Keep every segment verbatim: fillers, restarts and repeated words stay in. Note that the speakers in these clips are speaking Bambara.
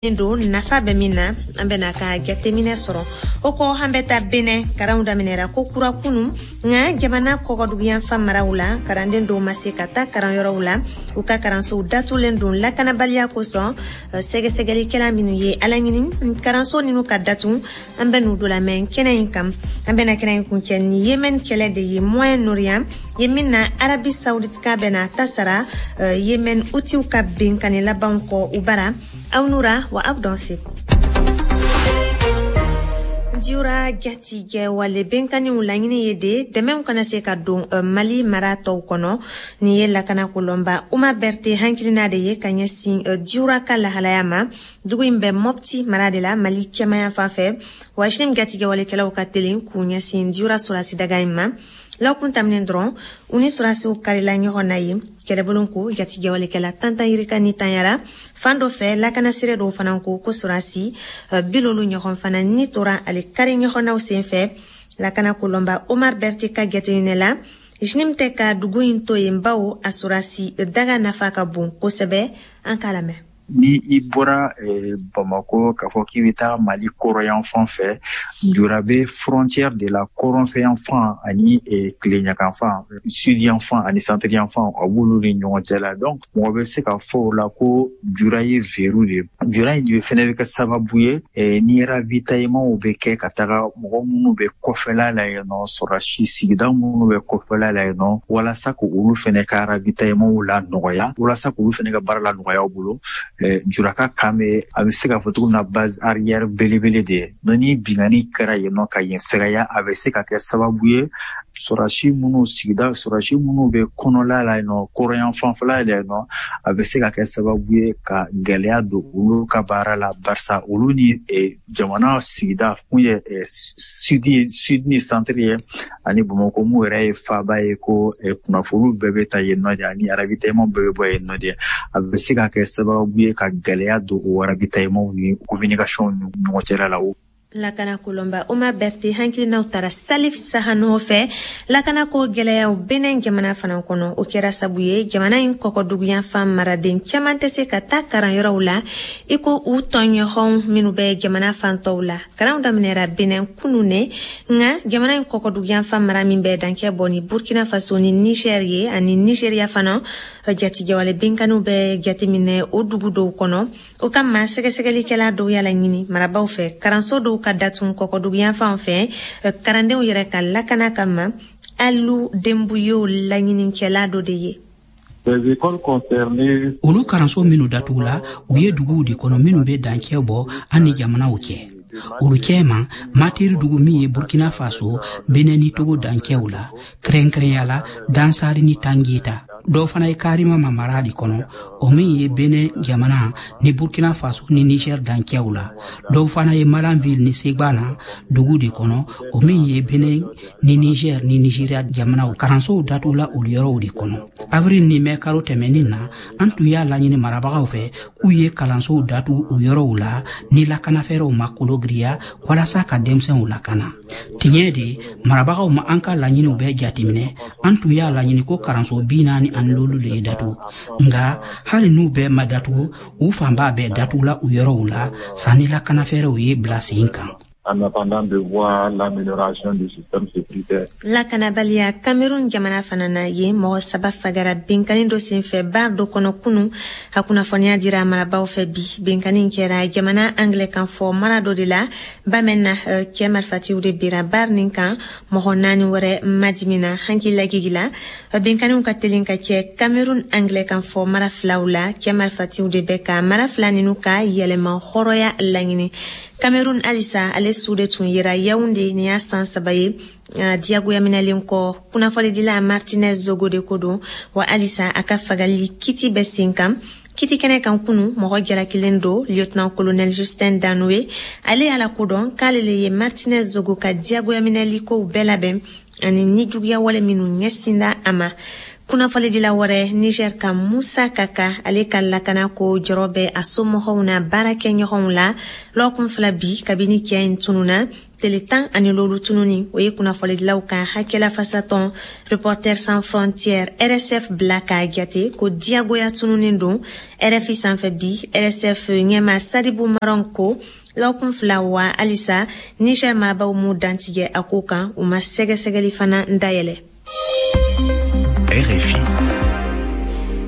Don nafa bɛ min na, an bɛna ka jateminɛ sɔrɔ o kɔ. An bɛ taa Benɛ. Karanw daminɛra ko kura kunu, nka jamana kɔkɔduguyanfan maraw la, karanden dɔw ma se ka taa karanyɔrɔw la. U ka karansow datulen don lakanabaliya kosɔn. Sɛgɛsɛgɛlikɛla minnu ye ala ɲini karanso ninu ka datu, an bɛ n'u dɔ lamɛn kɛnɛ in kan. An bɛna kɛnɛ in kuncɛ ni Yemen kɛlɛ de ye Moyen Orient ye, min na Arabie Saoudite ka bɛna ta sara Yemen Houthis ka benkani labanw kɔ u bara. Aw nura wa aw dɔn se. Diora jatigɛ wale benkaniw laɲini ye de dɛmɛw kana se ka don Mali mara tɔw kɔnɔ. Nin ye lakana kolɔnba Uma Berte hankilina de ye ka ɲɛsin Diora ka lahalaya ma. Dugu in bɛ Mopti mara de la, Mali kɛmaya fan fɛ. Wa JNIM jatigɛ walekɛlaw ka teli k'u ɲɛsin Diora sɔrɔsi daga in ma. Lɔkun taminen dɔrɔn, u ni sɔrɔsiw karila ɲɔgɔn na ye. Kɛlɛbolo ko jatigɛwalekɛla tantan yirika ni tanyara fan dɔ fɛ. Lakana sire dɔw fana ko ko sɔrɔsi bilolu ɲɔgɔn fana ni tora ale kari ɲɔgɔnnaw sen fɛ. Lakana kolɔnba Omar Berti ka jateminɛ la, JNIM tɛ ka dugu in to yen, bawo a sɔrɔsi daga nafa ka bon kosɛbɛ. An k'a lamɛn. Ni i bɔra eh, Bamako k'a fɔ k'i bɛ taa Mali kɔrɔyan fan fɛ, Jura bɛ frontière de la. Kɔrɔnfɛ yan fan ani eh, tileɲakan fan, sud yan fan ani centre yan fan, a b'olu ni ɲɔgɔn cɛ la. Donc mɔgɔ bɛ se ka fɔ o la ko Jura ye verrou de ye. Jura in de fɛnɛ bɛ kɛ sababu ye eh, ni ravitaillement bɛ kɛ ka taga mɔgɔ minnu bɛ kɔfɛla la yen nɔ, sɔrɔsi sigida minnu bɛ kɔfɛla la yen nɔ, walasa k'olu fɛnɛ ka ravitaillement la nɔgɔya, walasa k'olu fɛnɛ ka baara la nɔgɔya u bolo. Juraka kan bɛ, a bɛ se k'a fɔ cogo min na, base arrière belebele de ye. Ni binkanni kɛra yen nɔ ka yen fɛgɛya, a bɛ se ka kɛ sababu ye sɔrɔsi minnu sigida, sɔrɔsi minnu bɛ kɔnɔla la yen nɔ, kɔrɔyan fanfɛla la yen nɔ, a bɛ se ka kɛ sababu ye ka gɛlɛya don olu ka baara la, barisa olu ni jamana sigida mun ye sud sud ni centre ye ani Bamakɔ mun yɛrɛ ye faaba ye, ko kunnafoniw bɛɛ bɛ ta yen nɔ de ani ravitaillement bɛɛ bɛ bɔ yen nɔ de, a bɛ se ka kɛ sababu ye ka gɛlɛya don o ravitaillement ni communication ni ɲɔgɔn cɛla la. Lakana kolɔnba Omar Berte hakilinaw taara Salif Sahano fɛ. Lakana ko gɛlɛyaw Benɛn jamana fana kɔnɔ, o kɛra sabu ye jamana in kɔkɔduguyanfan maraden caman tɛ se ka taa karanyɔrɔw la i ko u tɔɲɔgɔnw minnu bɛ jamana fan tɔw la. Karanw daminɛra Benɛn kunu ne, nka jamana in kɔkɔduguyanfan mara min bɛ dankɛ bɔ ni Burkina Faso ni Niger ye ani Nigeria fana, jatigɛwale benkaniw bɛ jateminɛ o dugu dɔw kɔnɔ. O kama sɛgɛsɛgɛlikɛla dɔw y'a laɲini marabaw fɛ karanso dɔw ka datun kɔkɔduguyanfanw fɛ, karandenw yɛrɛ ka lakana kama. Alu Denbuyew laɲinikɛla dɔ de ye. Olu karanso minnu datugula, u ye duguw de kɔnɔ minnu bɛ dancɛ bɔ an ni jamanaw cɛ. Olu cɛma, Materi dugu min ye Burkina Faso, Benɛ ni Togo dancɛw la, kɛrɛnkɛrɛnya la Dansari ni Tangeta. Dɔw fana ye Karima mara de kɔnɔ, o min ye Benɛ jamana ni Burkina Faso ni Niger dancɛw la. Dɔw fana ye Malanville ni Segbana dugu de kɔnɔ, o min ye Benɛ ni Niger ni Nigeria jamanaw. Karansow datugula olu yɔrɔw de kɔnɔ. Avril ni mɛ karo tɛmɛnin na, an tun y'a laɲini marabagaw fɛ k'u ye kalansow datugu o yɔrɔw la ni lakanafɛɛrɛw ma kologiriya, walasa ka denmisɛnw lakana. Tiɲɛ de, marabagaw ma an ka laɲiniw bɛɛ jateminɛ. An tun y'a laɲini ko karanso bi naani ani lolu le ye datugu, nka hali n'u bɛɛ ma datugu, u fanba bɛɛ datugula u yɔrɔw la sanni lakanafɛɛrɛw ye bila sen kan. En attendant de voir l'amélioration du système sécuritaire. Lakanabaliya Cameroun jamana fana na ye, mɔgɔ saba fagara benkani dɔ senfɛ bar dɔ kɔnɔ kunu. A kunnafoniya dira marabaw fɛ bi. Benkani kɛra jamana anglais kan fɔ mara dɔ de la, Bamɛn na. Cɛ marifatiw de bira bar nin kan, mɔgɔ naani wɛrɛ madimina. Hakililagigi la, benkaniw ka telin ka kɛ Cameroun anglais kan fɔ mara filaw la. Cɛ marifatiw de bɛ ka mara fila ninu ka yɛlɛma hɔrɔnya laɲini. Cameroun halisa, ale su de tun yera Yaounde nin y'a san saba ye diyagoya minɛlen kɔ. Kunnafonidila Martinez Zogo de ko don wa, halisa a ka fagali kiti bɛ sen kan. Kiti kɛnɛ kan kunu, mɔgɔ jalakilen don, lieutenant colonel Justin Danoe, ale y'a lakodɔn k'ale le ye Martinez Zogo ka diyagoya minɛli kow bɛɛ labɛn ani nijuguya wale minnu ɲɛsinda a ma. Kunnafonidila wɛrɛ, Niger ka Musa Kaka, ale ka lakana ko jɔrɔ bɛ a somɔgɔw n'a baarakɛɲɔgɔnw la lɔgɔkun fila bi kabini cɛ in tununa. Tele tan ani lolu tununi, o ye kunnafonidilaw ka hakɛlafasatɔn Reporters sans frontières R S F bila k'a jate ko diyagoya tununin don. R F I sanfɛ bi, R S F ɲɛma Sadibu Maron ko lɔgɔkun fila wa halisa Niger marabaw m'u dantigɛ a ko kan, u ma sɛgɛsɛgɛli fana dayɛlɛ. R F I.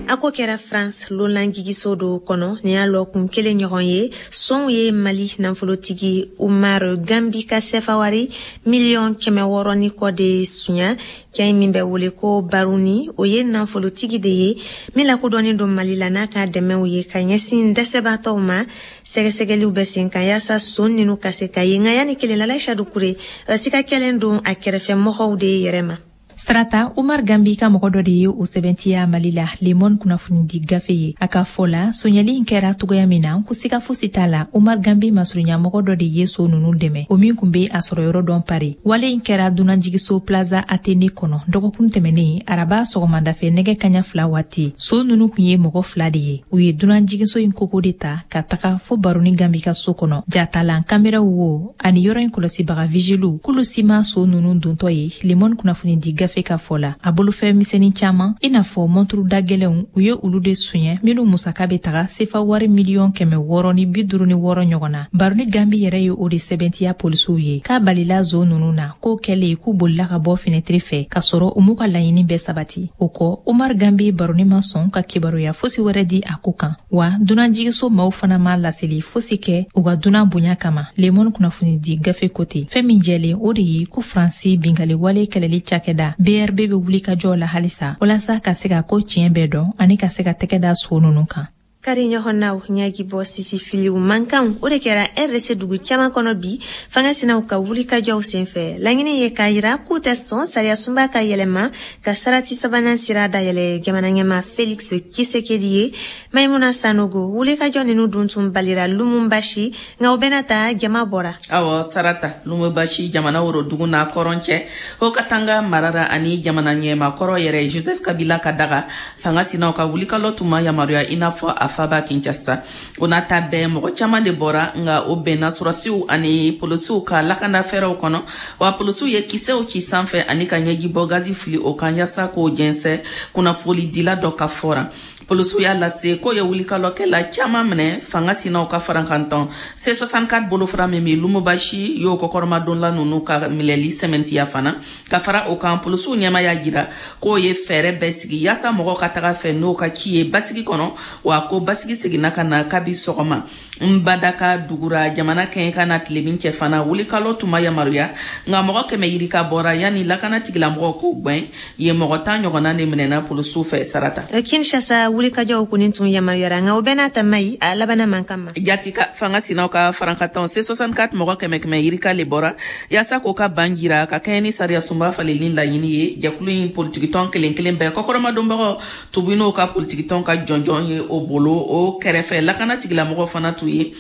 A ko kɛra France lonlanjigiso dɔ kɔnɔ nin y'a lɔkun kelen ɲɔgɔn ye. Sɔnw ye Mali nafolotigi Umar Gambi ka sɛfawari miliyɔn kɛmɛ wɔɔrɔ ni kɔ de suɲa. Cɛ min bɛ wele ko Baruni, o ye nafolotigi de ye min lakodɔnnen don Mali la n'a ka dɛmɛw ye ka ɲɛsin dɛsɛbaatɔw ma. Sɛgɛsɛgɛliw bɛ sen kan yaasa son ninu ka se ka ye, nka yanni kelen la, Laïcha Dukure, sika kɛlen don a kɛrɛfɛ mɔgɔw de yɛrɛ ma. Sarata, Umar Gambi ka mɔgɔ dɔ de ye o sɛbɛntiya Mali la Le Monde kunnafonidi gafe ye. A ka fɔ la, sonyali in kɛra togoya min na, ko siga fosi t'a la, Umar Gambi masurunya mɔgɔ dɔ de ye so nunu dɛmɛ, o min kun be a sɔrɔ yɔrɔ dɔn Pari. Wale in kɛra dunanjigiso Plaza Athénée kɔnɔ dɔgɔkun tɛmɛnen araba sɔgɔmadafɛ nɛgɛ kaɲa fila waati. So nunu kun ye mɔgɔ fila de ye. U ye dunanjigiso in koko de ta ka taga fo Baroni Gambi ka so kɔnɔ. Jatalan kameraw wo ani yɔrɔ in kɔlɔsibaga vigiliw, k'olu si ma so nunu dontɔ ye. Le Monde kunnafonidi gafe ka fɔ la, a bolofɛn misɛnnin caaman, i n'a fɔ mɔnturu da gwɛlɛnw, u ye olu de suɲɛ, minw musaka be taga sefa wari miliyɔn kɛmɛ wɔɔrɔ ni bi duru ni wɔɔrɔ ɲɔgɔn na. Baroni Gambi yɛrɛ ye o de sɛbɛntiya polisiw ye k'a balila zo nunu na. K'o kɛlen, k'u bolila ka bɔ finɛtiri fɛ k'a sɔrɔ u m'u ka laɲini bɛɛ sabati. O kɔ, Umar Gambi Baroni ma sɔn ka kibaruya fosi wɛrɛ di a ko kan, wa dunanjigiso maaw fana ma laseli fosi kɛ u ka dunan bonya kama. Le Monde kunnafonidi gafe ko ten. Fɛn min jɛlen, o de ye ko Faransi bingali wale kɛlɛli cakɛda B R B bɛ wuli ka jɔ la halisa walasa ka se ka ko tiɲɛ bɛɛ dɔn ani ka se ka tɛgɛ da so nunu kan. Kari ɲɔgɔnnaw ɲaji bɔ sisi filiw mankanw, o de kɛra R D C dugu caaman kɔnɔ bi fanga sinaw ka wulikajɔw senfɛ. Laɲini ye k'a yira k'u tɛ sɔn sariya sunba ka yɛlɛma ka sarati sabanan sira dayɛlɛ jamana ɲɛma Felix Tshisekedi ye. Maimuna Sanogo, wulikajɔ ninu dun tun balira Lumumbashi, nka o bɛna ta jama bɔra. Awɔ Sarata, Lumumbashi jamana worodugu n'a kɔrɔn cɛ, Haut Katanga marara ani jamana ɲɛma kɔrɔ yɛrɛ Joseph Kabila ka daga, fanga sinaw ka wulikalɔ tun ma yamaruya i n'a fɔ a faba Kinshasa. O n'a ta bɛɛ, mɔgɔ caman de bɔra, nga o bɛnna surasiw ani polosiw ka lakanda fɛɛrɛw kɔnɔ. Wa polosiw ye kisɛw ci sanfɛ ani ka ɲɛjibɔ gazi fili o kan yaasa k'o jɛnsɛ. Kunnafonidila dɔ ka fɔra, polisiw y'a lase k'o ye wulikalɔkɛla caman minɛ. Fanga sinaw ka farankantɔn C soixante-quatre bolofara min bɛ Lumubashi y'o kɔkɔrɔmadonla ninnu ka minɛli sɛmɛntiya fana. Ka fara o kan, polisiw ɲɛma y'a jira k'o ye fɛɛrɛ bɛɛ sigi yaasa mɔgɔw ka taga fɛ n'o ka ci ye basigi kɔnɔ, wa ko basigi seginna ka na kabi sɔgɔma. Nbadaka dugura jamana kɛɲɛ ka na tilebin cɛ fana, wulikalɔ tun ma yamaruya, nka mɔgɔ kɛmɛ yirika bɔra yanni lakana tigilamɔgɔw k'o gwɛn ye. Mɔgɔ tan ɲɔgɔnna de minɛna polisiw fɛ, Sarata. Kinshasa, wulikajɔw kɔni tun yamaruyara, nka o bɛɛ n'a ta mayi a labana man kan ma. Jati ka fanga sinaw ka farankatɔn C soixante-quatre mɔgɔ kɛmɛ kɛmɛ yirika le bɔra yaasa k'o ka ban jira ka kɛɲɛ ni sariya sunba faleli laɲini ye. Jɛkulu in politikitɔn kelen kelen bɛɛ kɔkɔrɔmadonbagaw tubu n'o ka politikitɔn ka jɔnjɔn ye o bolo. O kɛrɛfɛ, lakana tigilamɔgɔ fana t'u ye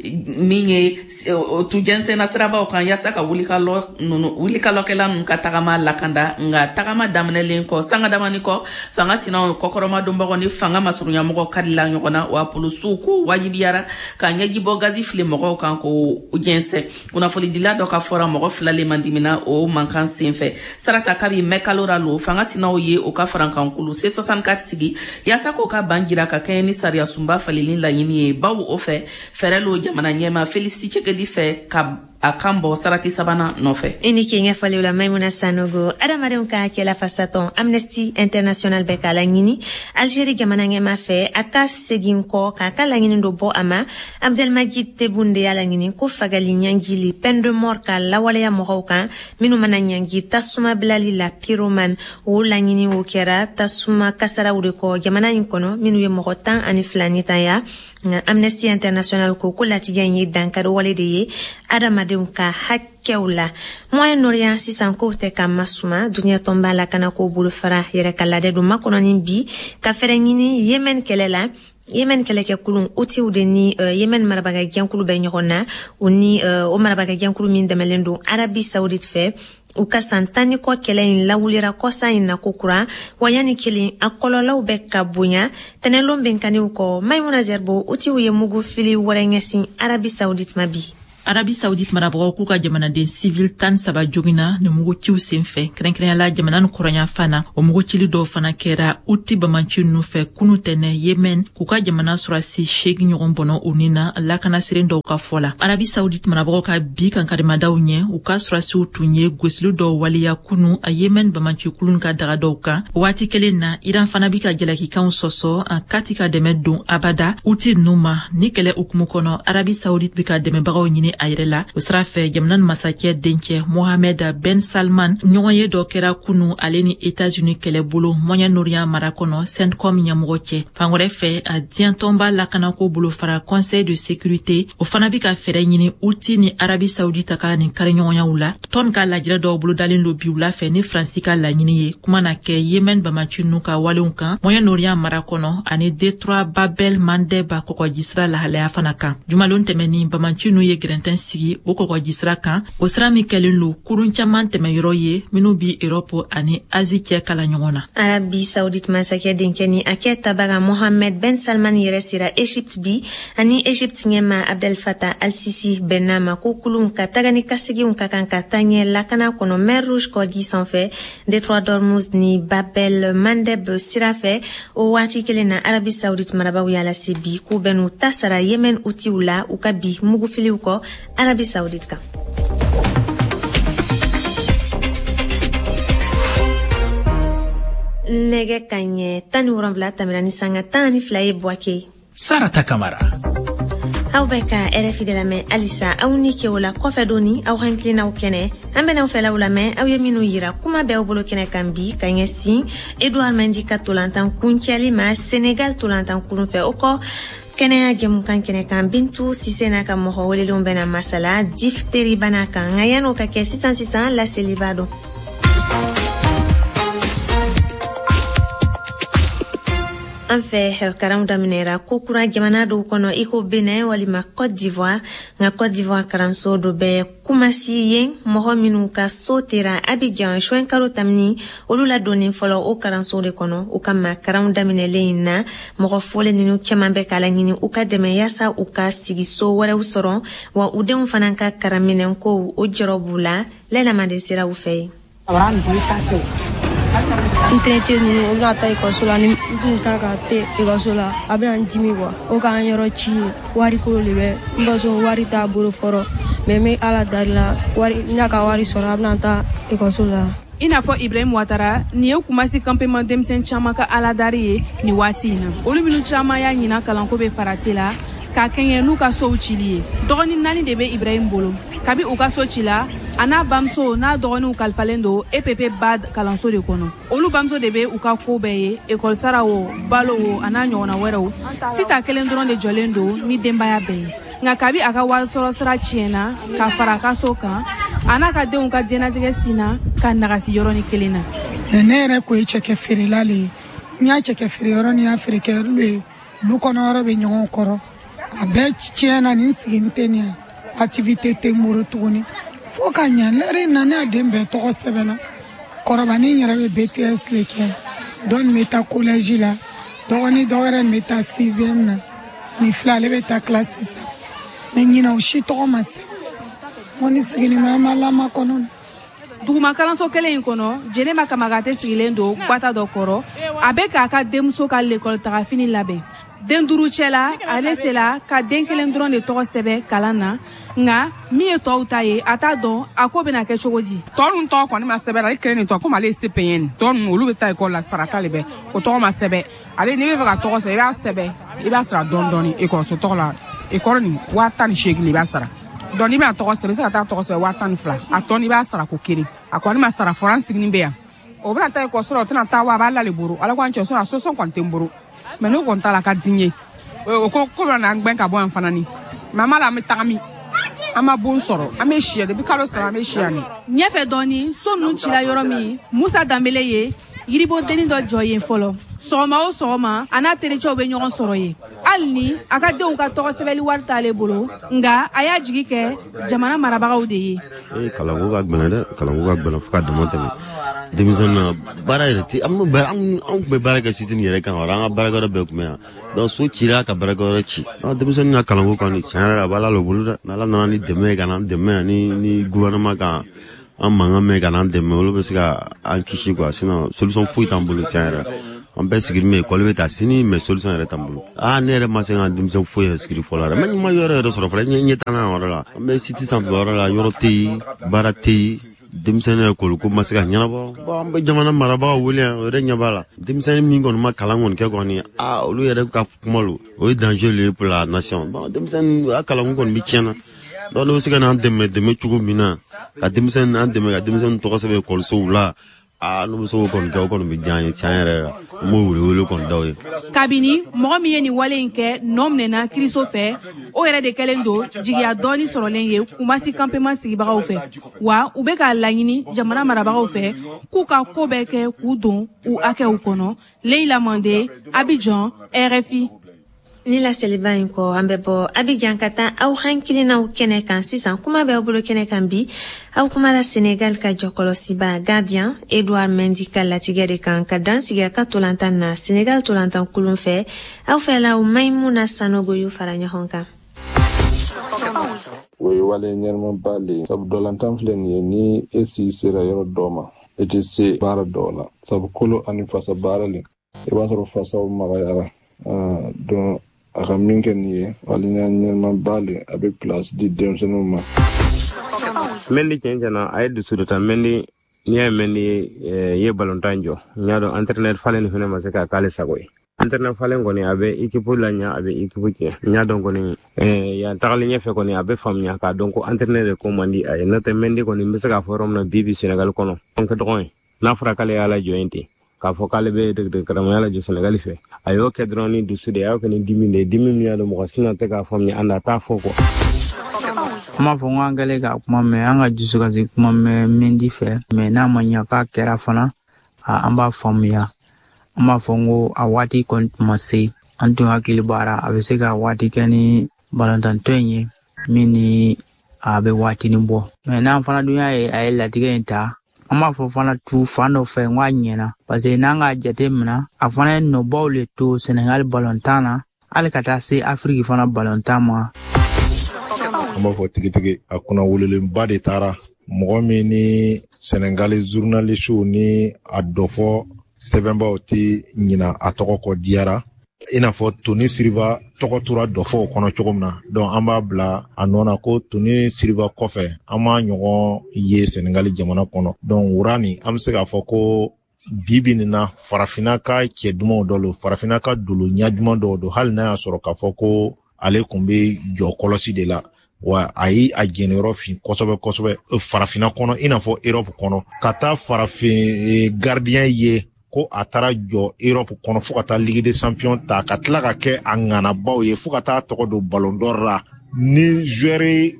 min ye tu jɛnsɛnna sirabaw kan yaasa ka wulikalɔ nunu wulikalɔkɛla ninnu ka tagama lakanda. Nka tagama daminɛlen kɔ, sanga damani kɔ, fanga sinaw kɔkɔrɔmadonbagaw ni fanga masurunyamɔgɔ karila ɲɔgɔn na, wa polisiw ko wajibiyara ka ɲɛjibɔ gazi fili mɔgɔw kan k'o jɛnsɛn. Kunnafonidila dɔ ka fɔra, mɔgɔ fila le mandimina o mankan senfɛ. Sarata, kabi mɛkalo ra lo, fanga sinaw ye o ka farankankulu C soixante-quatre sigi yaasa k'o ka ban jira ka kɛɲɛ ni sariya sunba faleli laɲini ye, bawo o fɛ fɛɛrɛ lo jamana ɲɛma Felix Tshisekedi fɛ ka a kan bɔ sarati sabanan nɔfɛ. I ni ke ɲɛfɔliw la, Maimuna Sanogo. Adamadenw ka hakɛla fasatɔn Amnesty International bɛ k'a laɲini Algérie jamana ɲɛma fɛ a ka segin kɔ k'a ka laɲini dɔ bɔ a ma. Abdelmajid Tebboune de y'a laɲini ko fagali ɲangili, peine de mort, ka lawaleya mɔgɔw kan minnu mana ɲangi tasuma bilali la, pyromane. O laɲini o kɛra tasuma kasaraw de kɔ jamana in kɔnɔ minnu ye mɔgɔ tan ani fila ni tanya. Nka Amnesty International ko ko latigɛ in ye dankari wale de ye adamadenw ka hakɛw la. Moyen Orient sisan, kow tɛ ka masuma. Duniɲɛ tɔnba lakanako bolofara yɛrɛ ka ladɛ don makɔnɔni bi ka fɛɛrɛ ɲini Yemen kɛlɛ la. Yemen kɛlɛkɛkulu Houthis de ni uh, Yemen marabaga jɛnkulu bɛ ɲɔgɔn na, o ni uh, o marabaga jɛnkulu min dɛmɛlen don Arabie Saoudite fɛ. U ka san tan ni kɔ kɛlɛ in lawulira kɔsa in na kokura, wa yanni kelen a kɔlɔlɔw bɛ ka bonya. Tɛnɛlon benkanniw kɔ, Maimuna Zerbo, Utiw ye mugu fili wɛrɛ ɲɛsin Arabi Saoudite ma bi. Arabi Saoudite marabagaw k'u ka jamanaden civil tan saba joginna ni muguciw senfɛ, kɛrɛnkɛrɛnyala jamana ni kɔrɔnyanfan na. O mugucili dɔw fana kɛra Uti bamanci ninnu fɛ kunu tɛnɛ Yemen, k'u ka jamana sɔrɔdasi seegin ɲɔgɔn bɔnɔ u ni na, lakanasiren dɔw ka fɔ la. Arabi Saoudite marabagaw ka bi kankarimadaw ɲɛ, u ka sɔrɔdasiw tun ye gosili dɔw waleya kunu a Yemen bamanci kulun ka daga dɔw kan. Waati kelen na, Iran fana bi ka jalakikanw sɔsɔ a kati ka dɛmɛ don abada Uti ninnu ma. Ni kɛlɛ hukumu kɔnɔ, Arabi Saoudite bi ka dɛmɛbagaw ɲini a yɛrɛ la. O sira fɛ, jamana ni masakɛ dencɛ Mohamed Ben Salman ɲɔgɔn ye dɔ kɛra kunu ale ni États-Unis kɛlɛbolo Moyen-Orient mara kɔnɔ CENTCOM ɲɛmɔgɔ cɛ. Fan wɛrɛ fɛ, a diɲɛ tɔnba lakanako bolofara Conseil de sécurité, o fana bi ka fɛɛrɛ ɲini Uti ni Arabi Saoudite ka nin kariɲɔgɔnyaw la. Tɔn ka lajɛrɛ dɔw bolodalen don bi wula fɛ ni Faransi ka laɲini ye. Kuma na kɛ Yemen bamaci ninnu ka walenw kan Moyen-Orient mara kɔnɔ ani Détroit Babel Mandeb kɔgɔjisira lahalaya fana kan. Jumalon tɛmɛnin, bamaci ninnu ye gɛrɛntɛn sigi o kɔgɔjisira kan, o sira min kɛlen don kurun caman tɛmɛyɔrɔ ye minnu bi Europe ani Asie cɛ kala ɲɔgɔn na. Arabi Saoudite masakɛ denkɛ ni a kɛ tabaga Mohamed Ben Salman yɛrɛ sera Egypte bi, ani Egypte ɲɛma Abdel Fattah al-Sisi bɛnna ma ko kulun ka taga ni kaseginw ka kan ka taa ɲɛ lakana kɔnɔ Mer Rouge kɔji sanfɛ, Détroit d'Ormuz ni Babel Mandeb sira fɛ. O waati kelen na, Arabi Saoudite marabaw y'a lase bi k'u bɛn'u ta sara Yemen Utiw la u ka bi mugufiliw kɔ Arabi Saoudite kan. Nɛgɛ ka ɲɛ tan ni wolonwula tɛmɛna ni sanga tan ni fila ye Buwake. Sarata Kamara. Aw bɛ ka R F I de lamɛn halisa. Aw ni ke o la kɔfɛ doni aw hakilinaw kɛnɛ, an bɛn'aw fɛlaw lamɛn aw ye minnu yira kuma bɛɛ aw bolo kɛnɛ kan bi ka ɲɛsin Edouard Mendy ka tolantan kuncɛli ma Senegal tolantan kurun fɛ. O kɔ, kɛnɛya jɛmukan kɛnɛ kan, Bintu Sise n'a ka mɔgɔ welelenw bɛna masala diphtérie bana kan. Nka yan'o ka kɛ, sisan sisan laseliba don. An fɛ, karanw daminɛra kokura jamana dɔw kɔnɔ i ko Benin walima Côte d'Ivoire. Nka Côte d'Ivoire karanso dɔ bɛ Kumasi yen, mɔgɔ minnu ka so tera Abidjan juin kalo tamini, olu ladonni fɔlɔ o karanso de kɔnɔ. O kama, karanw daminɛlen in na, mɔgɔ fɔlen ninnu caman bɛ k'a laɲini u ka dɛmɛ yaasa u ka sigiso wɛrɛw sɔrɔ, wa u denw fana ka karanminɛnkow o jɔrɔ b'u la. Lɛlama de sera u fɛ yen. N terikɛ ninnu, u bɛna taa ekɔliso la, ni n tun sera ka te ekɔliso la, a bɛna n dimi kuwa. O k'an yɔrɔ ci, wariko de bɛ n ba sɔn, wari t'a bolo fɔlɔ, mɛ n bɛ Ala dali la, wari n'a ka wari sɔrɔ, a bɛna taa ekɔliso la. I n'a fɔ Ibrahim Ouattara, nin ye Kumasi campement denmisɛn caman ka aladari ye nin waati in na. Olu minnu caman y'a ɲina kalanko bɛ farati la k'a kɛɲɛ n'u ka sow cili ye. Dɔgɔnin naani de bɛ Ibrahim bolo. Kabi u ka so ci la, a n'a bamuso n'a dɔgɔninw kalifalen don E P P B A D kalanso de kɔnɔ. Olu bamuso de bɛ u ka ko bɛɛ ye, ekɔli sara o, balo o, a n'a ɲɔgɔnna wɛrɛw. Sita kelen dɔrɔn de jɔlen don ni denbaya bɛɛ ye. Nka kabi a ka wari sɔrɔ sira tiɲɛna ka fara a ka so kan, a n'a ka denw ka diɲɛnatigɛ sinna ka nagasi yɔrɔnin kelen na. Ne yɛrɛ ko ye cɛkɛ feerela le ye. N y'a cɛkɛ feere yɔrɔ ni y'a feere kɛ yɔrɔ ye, lu kɔnɔ yɔrɔ bɛ ɲɔgɔn kɔrɔ. A bɛɛ tiɲɛna, nin sigi tɛ nin ye, activité tɛ n bolo tuguni. Fo ka ɲa lɛri na, ne y'a den bɛɛ tɔgɔ sɛbɛnna. Kɔrɔbanin yɛrɛ bɛ B T S le kɛ, dɔ nin bɛ taa collège la, dɔgɔnin dɔ wɛrɛ nin bɛ taa sixième na, nin fila ale bɛ taa classe saba. Mɛ ɲinɛ o si tɔgɔ ma sɛbɛn. N ko ni sigini ma, an b'a lamakɔnɔ. Duguma kalanso kelen in kɔnɔ, Jɛnɛba Kamagate sigilen don gbata dɔ kɔrɔ. A bɛ k'a ka denmuso ka lekɔli tagafini labɛn. Den duuru cɛla, ale sela ka den kelen dɔrɔn de tɔgɔ sɛbɛn kalan na. Nka min ye tɔw ta ye, a t'a dɔn a ko bɛna kɛ cogo di. Tɔ ninnu tɔgɔ kɔni ma sɛbɛn, ale kelen nin tɔgɔ, komi ale ye C P N tɔ ninnu, olu bɛ taa ekɔli la, sarata de bɛ o tɔgɔ ma sɛbɛn. Ale n'i bɛ fɛ ka tɔgɔ sɛbɛn, i b'a sɛbɛn, i b'a sara dɔɔni dɔɔni ekɔliso tɔgɔ la. Ekɔli nin waa tan ni seegin de i b'a sara. Donc n'i bɛna tɔgɔ sɛbɛn, i bɛ se ka taa tɔgɔ sɛbɛn waa tan ni fila, a tɔ n'i b'a sara ko kelen. A kɔni ma sara fɔlɔ, an sigilen bɛ yan. O bɛna taa ekɔliso la, o tɛna taa wa, a b'a la de bolo. Ala k'an cɛ sɔn, a sosɔn kɔni tɛ n bolo. Mɛ n'o kɔni t'a la, a ka di n ye. O ko ko bɛna n'an gɛn ka bɔ yan fana ni. Mɛ an b'a la, an bɛ taga min? An ma bon sɔrɔ, an bɛ si yan depuis kalo saba, an bɛ si yan ni. Ɲɛfɛ dɔɔni, so ninnu cila yɔrɔ min, Musa Danbele ye yiribodennin dɔ jɔ yen fɔlɔ. Sɔgɔma o sɔgɔma, a n'a tericɛw bɛ ɲɔgɔn sɔrɔ yen. Hali ni a ka denw ka tɔgɔ sɛbɛnli wari t'ale bolo, nka a y'a jigi kɛ jamana marabagaw de ye. Ee, kalanko ka gɛlɛn dɛ, kalanko ka gɛlɛn fo ka dama tɛmɛ. Denmisɛnnin na baara yɛrɛ ti, an an tun bɛ baara kɛ sitini yɛrɛ kan, an ka baarakɛyɔrɔ bɛɛ tun bɛ yan. Donc so cira ka baarakɛyɔrɔ ci. Denmisɛnnin ka kalanko kɔni, tiɲɛ yɛrɛ la, a bɛ Ala le bolo dɛ. N'Ala nana ni dɛmɛ ye ka n'an dɛmɛ, ni ni gouvernement ka an mankan mɛn ka n'an dɛmɛ, olu bɛ se ka an kisi quoi. Sinon solution foyi t'an bolo tiɲɛ yɛrɛ la. An bɛɛ sigilen bɛ école bɛ taa sini, mais solution yɛrɛ t'an bolo. Aa, ne yɛrɛ ma se ka denmisɛn foyi inscrit fɔlɔ yɛrɛ. Mais ma yɔrɔ yɛrɛ sɔrɔ fɔlɔ, ɲɛ t'an na yɔrɔ la. An bɛ site sanfɛ yɔrɔ la, yɔrɔ tɛ yen, baara tɛ yen. Denmisɛnnin école ko ma se ka ɲɛnabɔ. Bon, an bɛ jamana marabagaw wele yan, o yɛrɛ ɲɛ b'a la. Denmisɛnnin min kɔni ma kalan kɔni kɛ kɔni, aa, olu yɛrɛ ka kuma lo, o ye danger le ye pour la nation. Bon, denmisɛnnin a kalanko kɔni bɛ tiɲɛna. Donc n'o bɛ se ka n'an dɛmɛ dɛmɛ cogo min na, ka denmisɛnnin an dɛmɛ ka denmisɛnnin tɔgɔ sɛbɛn ekɔlisow la, aa, n'u bɛ se k'o kɔni kɛ, o kɔni bɛ diya an ye tiɲɛ yɛrɛ la. An b'o wele wele kɔni d'aw ye. Kabini mɔgɔ min ye nin wale in kɛ nɔ minɛna kiriso fɛ, o yɛrɛ de kɛlen don jigiya dɔɔni sɔrɔlen ye Kumasi campement sigibagaw fɛ. Wa u bɛ k'a laɲini jamana marabagaw fɛ k'u ka ko bɛɛ kɛ k'u don u hakɛw kɔnɔ. Leila Mande, Abidjan, R F I. Ni laseliba in kɔ, an bɛ bɔ Abidjan ka taa aw hakilinaw kɛnɛ kan sisan. Kuma bɛ aw bolo kɛnɛ kan bi, aw kumara Senegal ka jɔkɔlɔsiba gardien Edouard Mendy ka latigɛ de kan ka dan sigi a ka tolantan na Senegal tolantan kulun fɛ. Aw fɛla Maimuna Sanogo y'u fara ɲɔgɔn kan. O ye wale ɲɛnamaba le ye, sabu dɔlantan filɛ nin ye, ni e si sera yɔrɔ dɔ ma, e tɛ se baara dɔw la, sabu kolo ani fasa baara le, i b'a sɔrɔ fasaw magayara. Donc a ka min kɛ nin ye waleya ɲɛnamaba le, a bɛ place di denmisɛnninw ma. Mendy tiɲɛ tiɲɛ na, a ye dusu dɔ ta. Mendy, n'i y'a ye Mendy ye balontan jɔ, n y'a dɔn entraîneur falen fana ma se k'a k'ale sago ye. Entraîneur falen kɔni, a bɛ équipe laɲa, a bɛ équipe tiɲɛ. N y'a dɔn kɔni, yan tagalen ɲɛfɛ kɔni, a bɛ faamuya k'a dɔn ko entraîneur de ko man di a ye. N'o tɛ Mendy kɔni, n bɛ se k'a fɔ yɔrɔ min na bi bi Sénégal kɔnɔ, an ka dɔgɔn ye, n'a fɔra k'ale y'a lajɔ yen ten, k'a fɔ k'ale bɛ degedekaramaya lajɔ Sénégal fɛ, a y'o kɛ dɔrɔn ni dusu de ye, a y'o kɛ ni dimi de ye, dimi min y'a dɔn mɔgɔ si na tɛ k'a faamuya, an na t'a fɔ quoi. An b'a fɔ ko an kɛlen k'a kuma mɛn, an ka dusukasi kuma mɛn Mendy fɛ, mɛ n'a ma ɲa k'a kɛra fana, an b'a faamuya. An b'a fɔ ko a waati kɔni tun ma se, an tun hakili b'ara a bɛ se ka waati kɛ ni balontan in ye min ni a bɛ waatinin bɔ. Mɛ n'an fana dun y'a ye a ye latigɛ in ta, an b'a fɔ fana tu fan dɔ fɛ n k'a ɲɛna, parce que n'an k'a jate minɛ, a fana ye nɔbaw le to Senegal balontan na, hali ka taa se Afiriki fana balontan ma. An b'a fɔ tigitigi, a kunna wololenba de taara mɔgɔ min ni Senegali journalistew ni a dɔfɔ sɛbɛnbaw tɛ ɲina a tɔgɔ kɔ diyara. I n'a fɔ Tony Siriba tɔgɔ tora dɔfɔw kɔnɔ cogo min na, donc an b'a bila a nɔ na ko Tony Siriba kɔfɛ an m'a ɲɔgɔn ye Senegali jamana kɔnɔ. Donc wura nin, an bɛ se k'a fɔ ko bi bi nin na, farafinna ka cɛ dumanw dɔ don, farafinna ka dolo ɲɛ duman dɔw don, hali n'a y'a sɔrɔ k'a fɔ ko ale kun bɛ jɔ kɔlɔsi de la, wa a ye a jɛniyɔrɔ fin kosɛbɛ kosɛbɛ farafinna kɔnɔ, i n'a fɔ Europe kɔnɔ, ka taa farafin gardien ye ko a taara jɔ Europe kɔnɔ fo ka taa Ligue des Champions ta, ka tila ka kɛ a ŋanabaw ye fo ka taa tɔgɔ don Ballon d'Or la. Ni joueur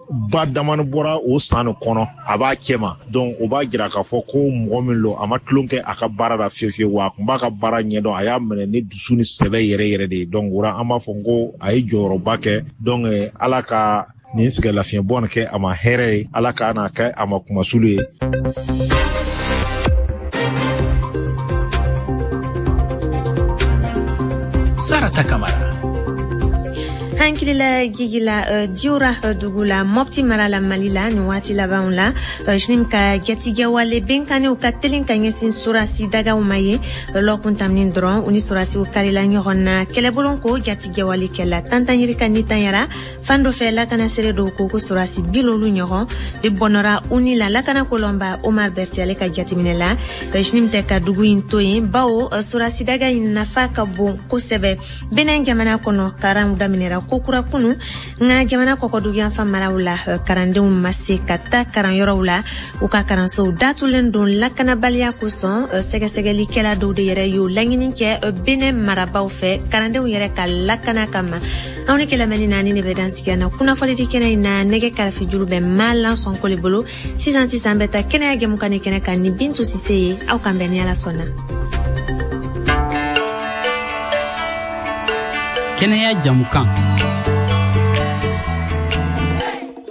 ba damani bɔra o san nin kɔnɔ, a b'a cɛ ma. Donc o b'a jira k'a fɔ ko mɔgɔ min don, a ma tulon kɛ a ka baara la fiyewu fiyewu, wa a kun b'a ka baara ɲɛdɔn, a y'a minɛ ni dusu ni sɛbɛ yɛrɛ yɛrɛ de ye. Donc o la an b'a fɔ ko a ye jɔyɔrɔba kɛ. Donc Ala ka nin sɛgɛnlafiɲɛbɔ nin kɛ a ma hɛrɛ ye, Ala ka n'a kɛ a ma kumasulu ye. Sarata Kamara. Hankilila gigila uh, Diora uh, dugu la Mopti mara la Mali la nin waati labanw la, uh, J N I M ka jatigɛwale benkanniw ka telin ka ɲɛsin sorasi dagaw ma ye uh, lɔkun taminin dɔrɔn u ni sorasiw karila ɲɔgɔn na kɛlɛbolon ko jatigɛwale kɛla tantanyirika ni tanyara fan dɔ fɛ. Lakana seere dɔw ko ko sorasi bilolu ɲɔgɔn de bɔnɔra u ni la. Lakana kolɔnba Omar Berti ale ka jateminɛ la, uh, J N I M tɛ ka dugu in to yen bawo uh, sorasi daga in nafa ka bon kosɛbɛ. Benin jamana kɔnɔ, karanw daminɛra ko kura kunu, nka jamana kɔkɔduguyanfan maraw la, karandenw ma se ka taa karanyɔrɔw la, u ka karansow datulen don lakanabaliya kosɔn. Sɛgɛsɛgɛlikɛla dɔw de yɛrɛ y'o laɲini kɛ Benin marabaw fɛ karandenw yɛrɛ ka lakana kama. Aw ni kɛlɛmɛni naani de bɛ dansigi na kunnafonidi kɛnɛ in na. Nɛgɛ karafejuru bɛ Malan Sɔnkole bolo. Sisan sisan bɛ taa kɛnɛya jɛmukan ni kɛnɛ kan ni Bintu Sise ye. Aw kan bɛn ni Ala sɔnna. Kɛnɛya jamukan.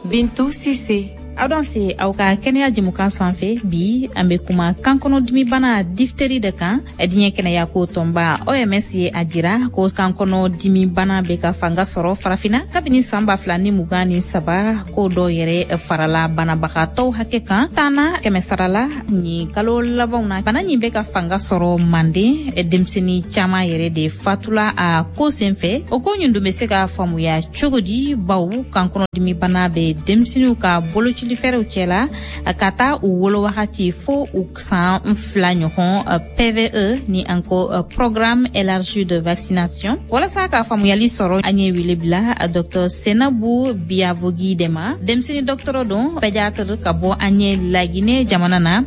Bintu Sise. Aw danse aw ka kɛnɛya jɛmukan sanfɛ. Bi an bɛ kuma kankɔnɔdimibana difteri de kan. Diɲɛ kɛnɛyako tɔnba O M S ye a jira ko kankɔnɔdimibana bɛ ka fanga sɔrɔ farafinna kabini san ba fila ni mugan ni saba, ko dɔw yɛrɛ farala banabagatɔw hakɛ kan tanna kɛmɛ sara la nin kalo labanw na. Bana nin bɛ ka fanga sɔrɔ Manden, denmisɛnnin caman yɛrɛ de fatula a ko senfɛ. O ko nin dun bɛ se ka faamuya cogo di, bawo kankɔnɔdimibana bɛ denmisɛnninw ka boloci fɛrɛw cɛla ka taa u wolo wagati fo u san fila ɲɔgɔn, P V E ni an ko programme élargi de vaccination. Walasa ka faamuyali sɔrɔ, an ye wele bila Docteur Senabu Biavogi de ma, denmisɛnnin dɔgɔtɔrɔ don, pédiatre ka bɔ an ye Laginɛ jamana na.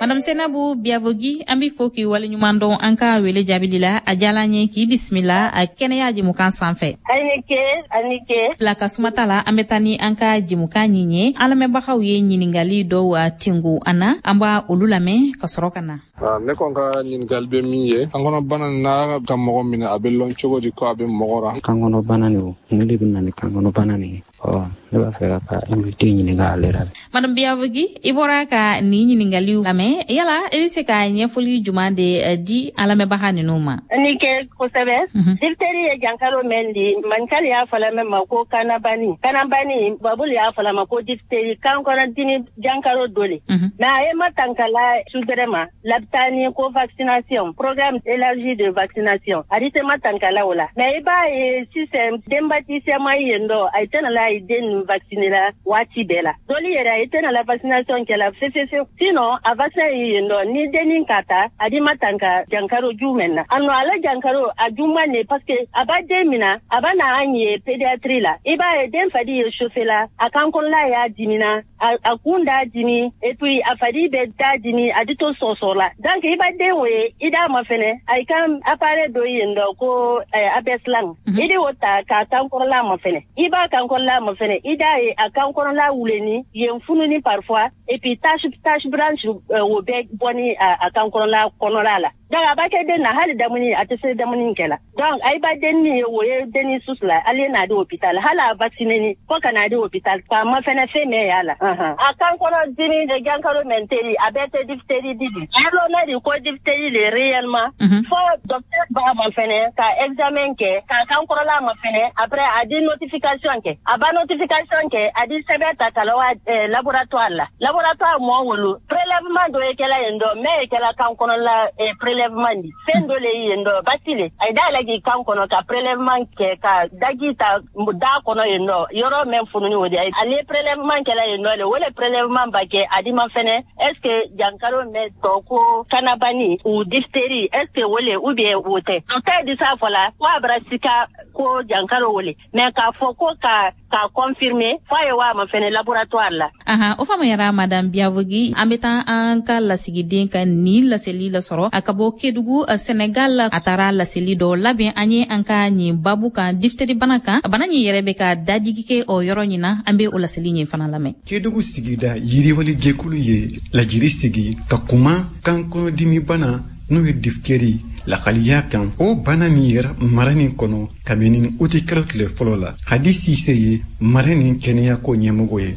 Madame Senabu Biavogi, an b'i fo k'i waleɲuman dɔn an ka wele jaabili la. A diyala an ye k'i bisimila a kɛnɛya jɛmukan sanfɛ. A ni ce, a ni ce. La ka sumata la, an bɛ taa ni an ka jɛmukan ɲin ye. An lamɛnbagaw ye ɲininkali dɔw tingu an na, an b'a olu lamɛn ka sɔrɔ ka na. Ne kɔni ka ɲininkali bɛ min ye, kankɔnɔbana n'a ka mɔgɔ minɛ, a bɛ lɔn cogo di ko a bɛ mɔgɔ ra? Kankɔnɔbana nin o, mun de bɛ na ni kankɔnɔbana nin ye? Ɔ, ne b'a fɛ ka ka invité ɲininka ale la. Madame Biavogi, i bɔra ka nin ɲininkaliw lamɛn, yala i bɛ se ka ɲɛfɔli jumɛn de di an lamɛnbaga ninnu ma? Ni kɛ kosɛbɛ. Difteri ye jankaro mɛn di, mankali y'a fɔla mɛn ma ko kanabani. Kanabani, babulu y'a fɔla ma ko difteri, kankɔnɔdimi jankaro dɔ le. Mais a ye matankala sugɛrɛ ma, labitani ko vaccination, programme élargi de vaccination. A di se matankala o la. Mais i b'a ye sisan denbati sɛma yen dɔ, a tɛna la den vacciner la waati bɛɛ la. Dɔli yɛrɛ a tɛna la vaccination kɛ la fefefe. Sinon a vaccin ye yen dɔ, ni dennin ka taa a di ma tanka jankaro jumɛn na. A nɔ ala jankaro a juman ne, parce que a b'a den mina, a b'a na an ye pédiatrie la. I b'a ye den fadi ye chauffé la, a kan kɔnɔla y'a dimina, a, a kun d'a dimi, et puis a fadi bɛ d'a dimi, a di to sɔsɔ la. Donc i b'a den o ye, i d'a ma fɛnɛ, a i kan appareil dɔ yen dɔ ko eh, abeslang. Mm -hmm. I di o ta k'a kan kɔrɔla ma fɛnɛ. I b'a kan kɔrɔla ma fɛnɛ, i d'a ye a kan kɔnɔla wuleni yen fununi parfois, et puis tache tache blanche o bɛ bɔ ni a kan kɔnɔla kɔnɔla la. Donc a b'a kɛ den na, hali damuni a tɛ se damuni kɛ la. Donc a b'a den ni o ye den susu la, ale n'a di hôpital, hali a vacciné ni fo ka n'a di hôpital, k'a ma fɛnɛ fɛn mɛn y'a la. A kan kɔnɔ dimi de jankaro mɛn teri, a bɛɛ tɛ diphtérie di di. A lɔn de ko diphtérie le réellement. Fo docteur b'a ma fɛnɛ ka examen kɛ, k'a kan kɔrɔla ma fɛnɛ, après a di notification kɛ. A b'a notification kɛ, a di sɛbɛn ta ka la wa laboratoire la. Laboratoire mɔɔ wolo, prélèvement dɔ ye kɛla yen dɔ, mɛ ye kɛla kan kɔnɔla prélèvement di. Fɛn dɔ le ye yen dɔ, basi le. A ye da yɛlɛ k'i kan kɔnɔ ka prélèvement kɛ, ka daji ta da kɔnɔ yen dɔ, yɔrɔ mɛn fununi o de. Ale prélèvement kɛla yen dɔ le, o le prélèvement ba kɛ a di ma fɛnɛ, est ce que jankaro mɛn tɔ ko kanabani ou diphtérie, est ce que o le ou bien o tɛ. Docteur di s'a fɔ la, ko a bara sika ko jankaro o le, mais k'a fɔ ko ka k'a confirmer, f'a ye wa ma fɛnɛ laboratoire la. Ahan, o faamuyara Madame Biavogi. An bɛ taa an ka lasigiden ka nin laseli lasɔrɔ a ka bɔ Kédougou, Sénégal. A taara laseli dɔ labɛn an ye an ka nin babu kan, diphtérie bana kan. Bana nin yɛrɛ bɛ ka dajigi kɛ o yɔrɔ ɲin na, an bɛ o laseli nin fana lamɛn. Kédougou sigida yiriwali jɛkulu ye lajiri sigi ka kuma kankɔnɔdimi bana n'o ye diphtérie lakaliya kan. O bana min yɛrɛ mara nin kɔnɔ kabini uti kalo tile fɔlɔ la. Hadi Sise ye mara nin kɛnɛyako ɲɛmɔgɔ ye.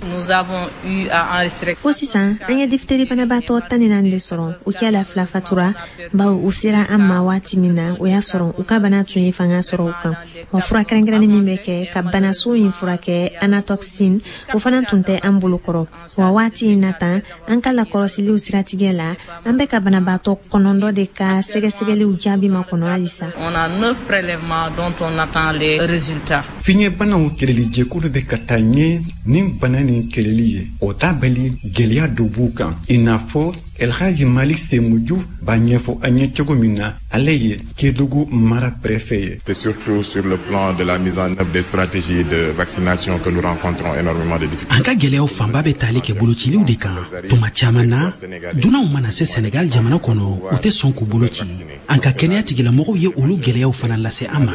Fo sisan an ye diphtérie banabaatɔ tan ni naani de sɔrɔ. U kɛla fila fatura, bawo u sera an ma waati min na, o y'a sɔrɔ u ka bana tun ye fanga sɔrɔ u kan. Wa fura kɛrɛnkɛrɛnnin min bɛ kɛ ka banaso in furakɛ, anatoxine, o fana tun tɛ an bolo kɔrɔ. Wa waati in na tan, an ka lakɔlɔsiliw siratigɛ la, an bɛ ka banabaatɔ kɔnɔntɔn de ka sɛgɛsɛgɛliw jaabi ma kɔnɔ halisa. On a neuf prélèvements dont on attend les résultats. Fiɲɛbanaw kɛlɛli jɛkulu bɛ ka taa ɲɛ ni bana nin kɛlɛli ye. O t'a bali gɛlɛya dɔ b'u kan, i n'a fɔ Elhaji Malik Semoudou b'a ɲɛfɔ an ye cogo min na, ale ye Kédougou mara préfet ye. C'est surtout sur le plan de la mise en œuvre des stratégies de vaccination que nous rencontrons énormément de difficultés. An ka gɛlɛyaw fanba bɛ tali kɛ bolociliw de kan. Tuma caman na, dunanw mana se Sénégal jamana kɔnɔ, u tɛ sɔn k'u bolo ci. An ka kɛnɛya tigilamɔgɔw ye olu gɛlɛyaw fana lase an ma.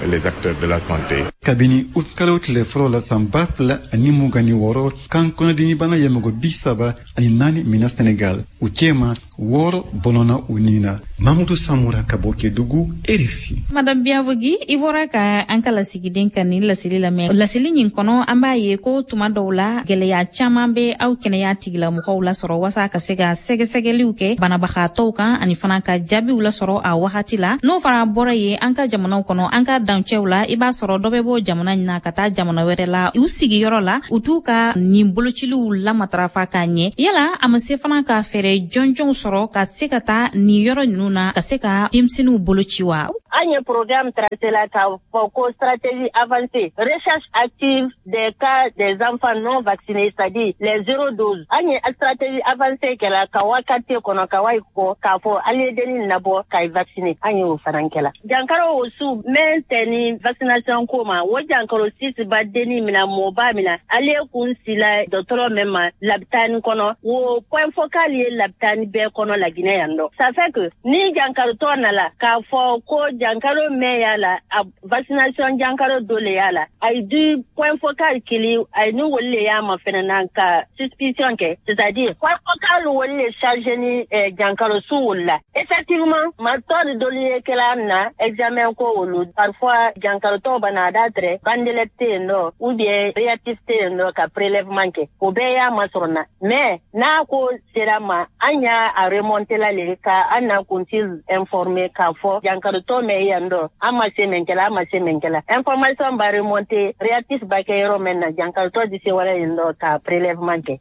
Les acteurs de la santé. Kabini utikalo tile fɔlɔ la san ba fila ani mugan ni wɔɔrɔ, kan kɔnɔdimibana ye mɔgɔ bi saba ani naani minɛ Sénégal. U cɛma Wɔɔrɔ bɔnɔna u ni na. Mamudu Samura ka bɔ Kedugu, R F I. Madame Biavogi, i bɔra ka an ka lasigiden ka nin laseli lamɛn. Laseli nin kɔnɔ, an b'a ye ko tuma dɔw la, gwɛlɛya caaman be aw kɛnɛya tigilamɔgɔw lasɔrɔ wasa ka se ka sɛgɛsɛgɛliw kɛ banabagatɔw kan, ani fana ka jaabiw lasɔrɔ a wagati la. N'o fana bɔra ye, an ka jamanaw kɔnɔ, an ka dancɛw la, i b'a sɔrɔ dɔ bɛ bɔ jamana ɲin na ka taa jamana wɛrɛ la, u sigiyɔrɔ la, u t'u ka nin bolociliw lamatarafa k'a ɲɛ. Yala a ma se fana ka fɛɛrɛ jɔnjɔnw sɔrɔ ka se ka taa nin yɔrɔ ninnu na, ka se ka denmisɛnninw boloci wa? An ye programme tracé la k'a fɔ ko stratégie avancée, recherche active des cas des enfants non vaccinés, c'est-à-dire les zéro dose. An ye stratégie avancée kɛla ka wa quartier kɔnɔ, ka wa kɔ k'a fɔ ali ye denni nabɔ k'a vacciner. An ye o fana kɛla. Jankaro o su mɛn tɛ ni vaccination ko ma, o jankaro sisi ba denni mina, mɔba mina, ale kun sila dɔgɔtɔrɔ mɛn ma labitani kɔnɔ, o point focal ye labitani bɛɛ kɔnɔ Laginɛ yan dɔ. Ça fait que ni jankarotɔ nala k'a fɔ ko jankaro mɛn y'a la, a vaccination jankaro dɔ le y'a la, a ye di point focal kili, a ye ni woli le y'a ma fɛnɛ na ka suspicion kɛ, c'est-à-dire point focal woli le chargé ni eh, jankaro su woli la. Effectivement, ma tɔ ni dɔlu ye kɛla na examen ko wolu, parfois jankarotɔ bana a da tɛrɛ bandelette tɛ yen nɔ, ou bien réactif tɛ yen nɔ ka prélèvement kɛ, o bɛɛ y'a masɔrɔ na. Mais n'a ko sera ma, an y'a a remonter la le ka an na kuntigi informer k'a fɔ jankarotɔ mɛn yan dɔ, an ma se mɛn kɛla, an ma se mɛn kɛla. Information ba remonter, réactif ba kɛ yɔrɔ mɛn na, jankarotɔ di se wala yen dɔ ka prélèvement kɛ.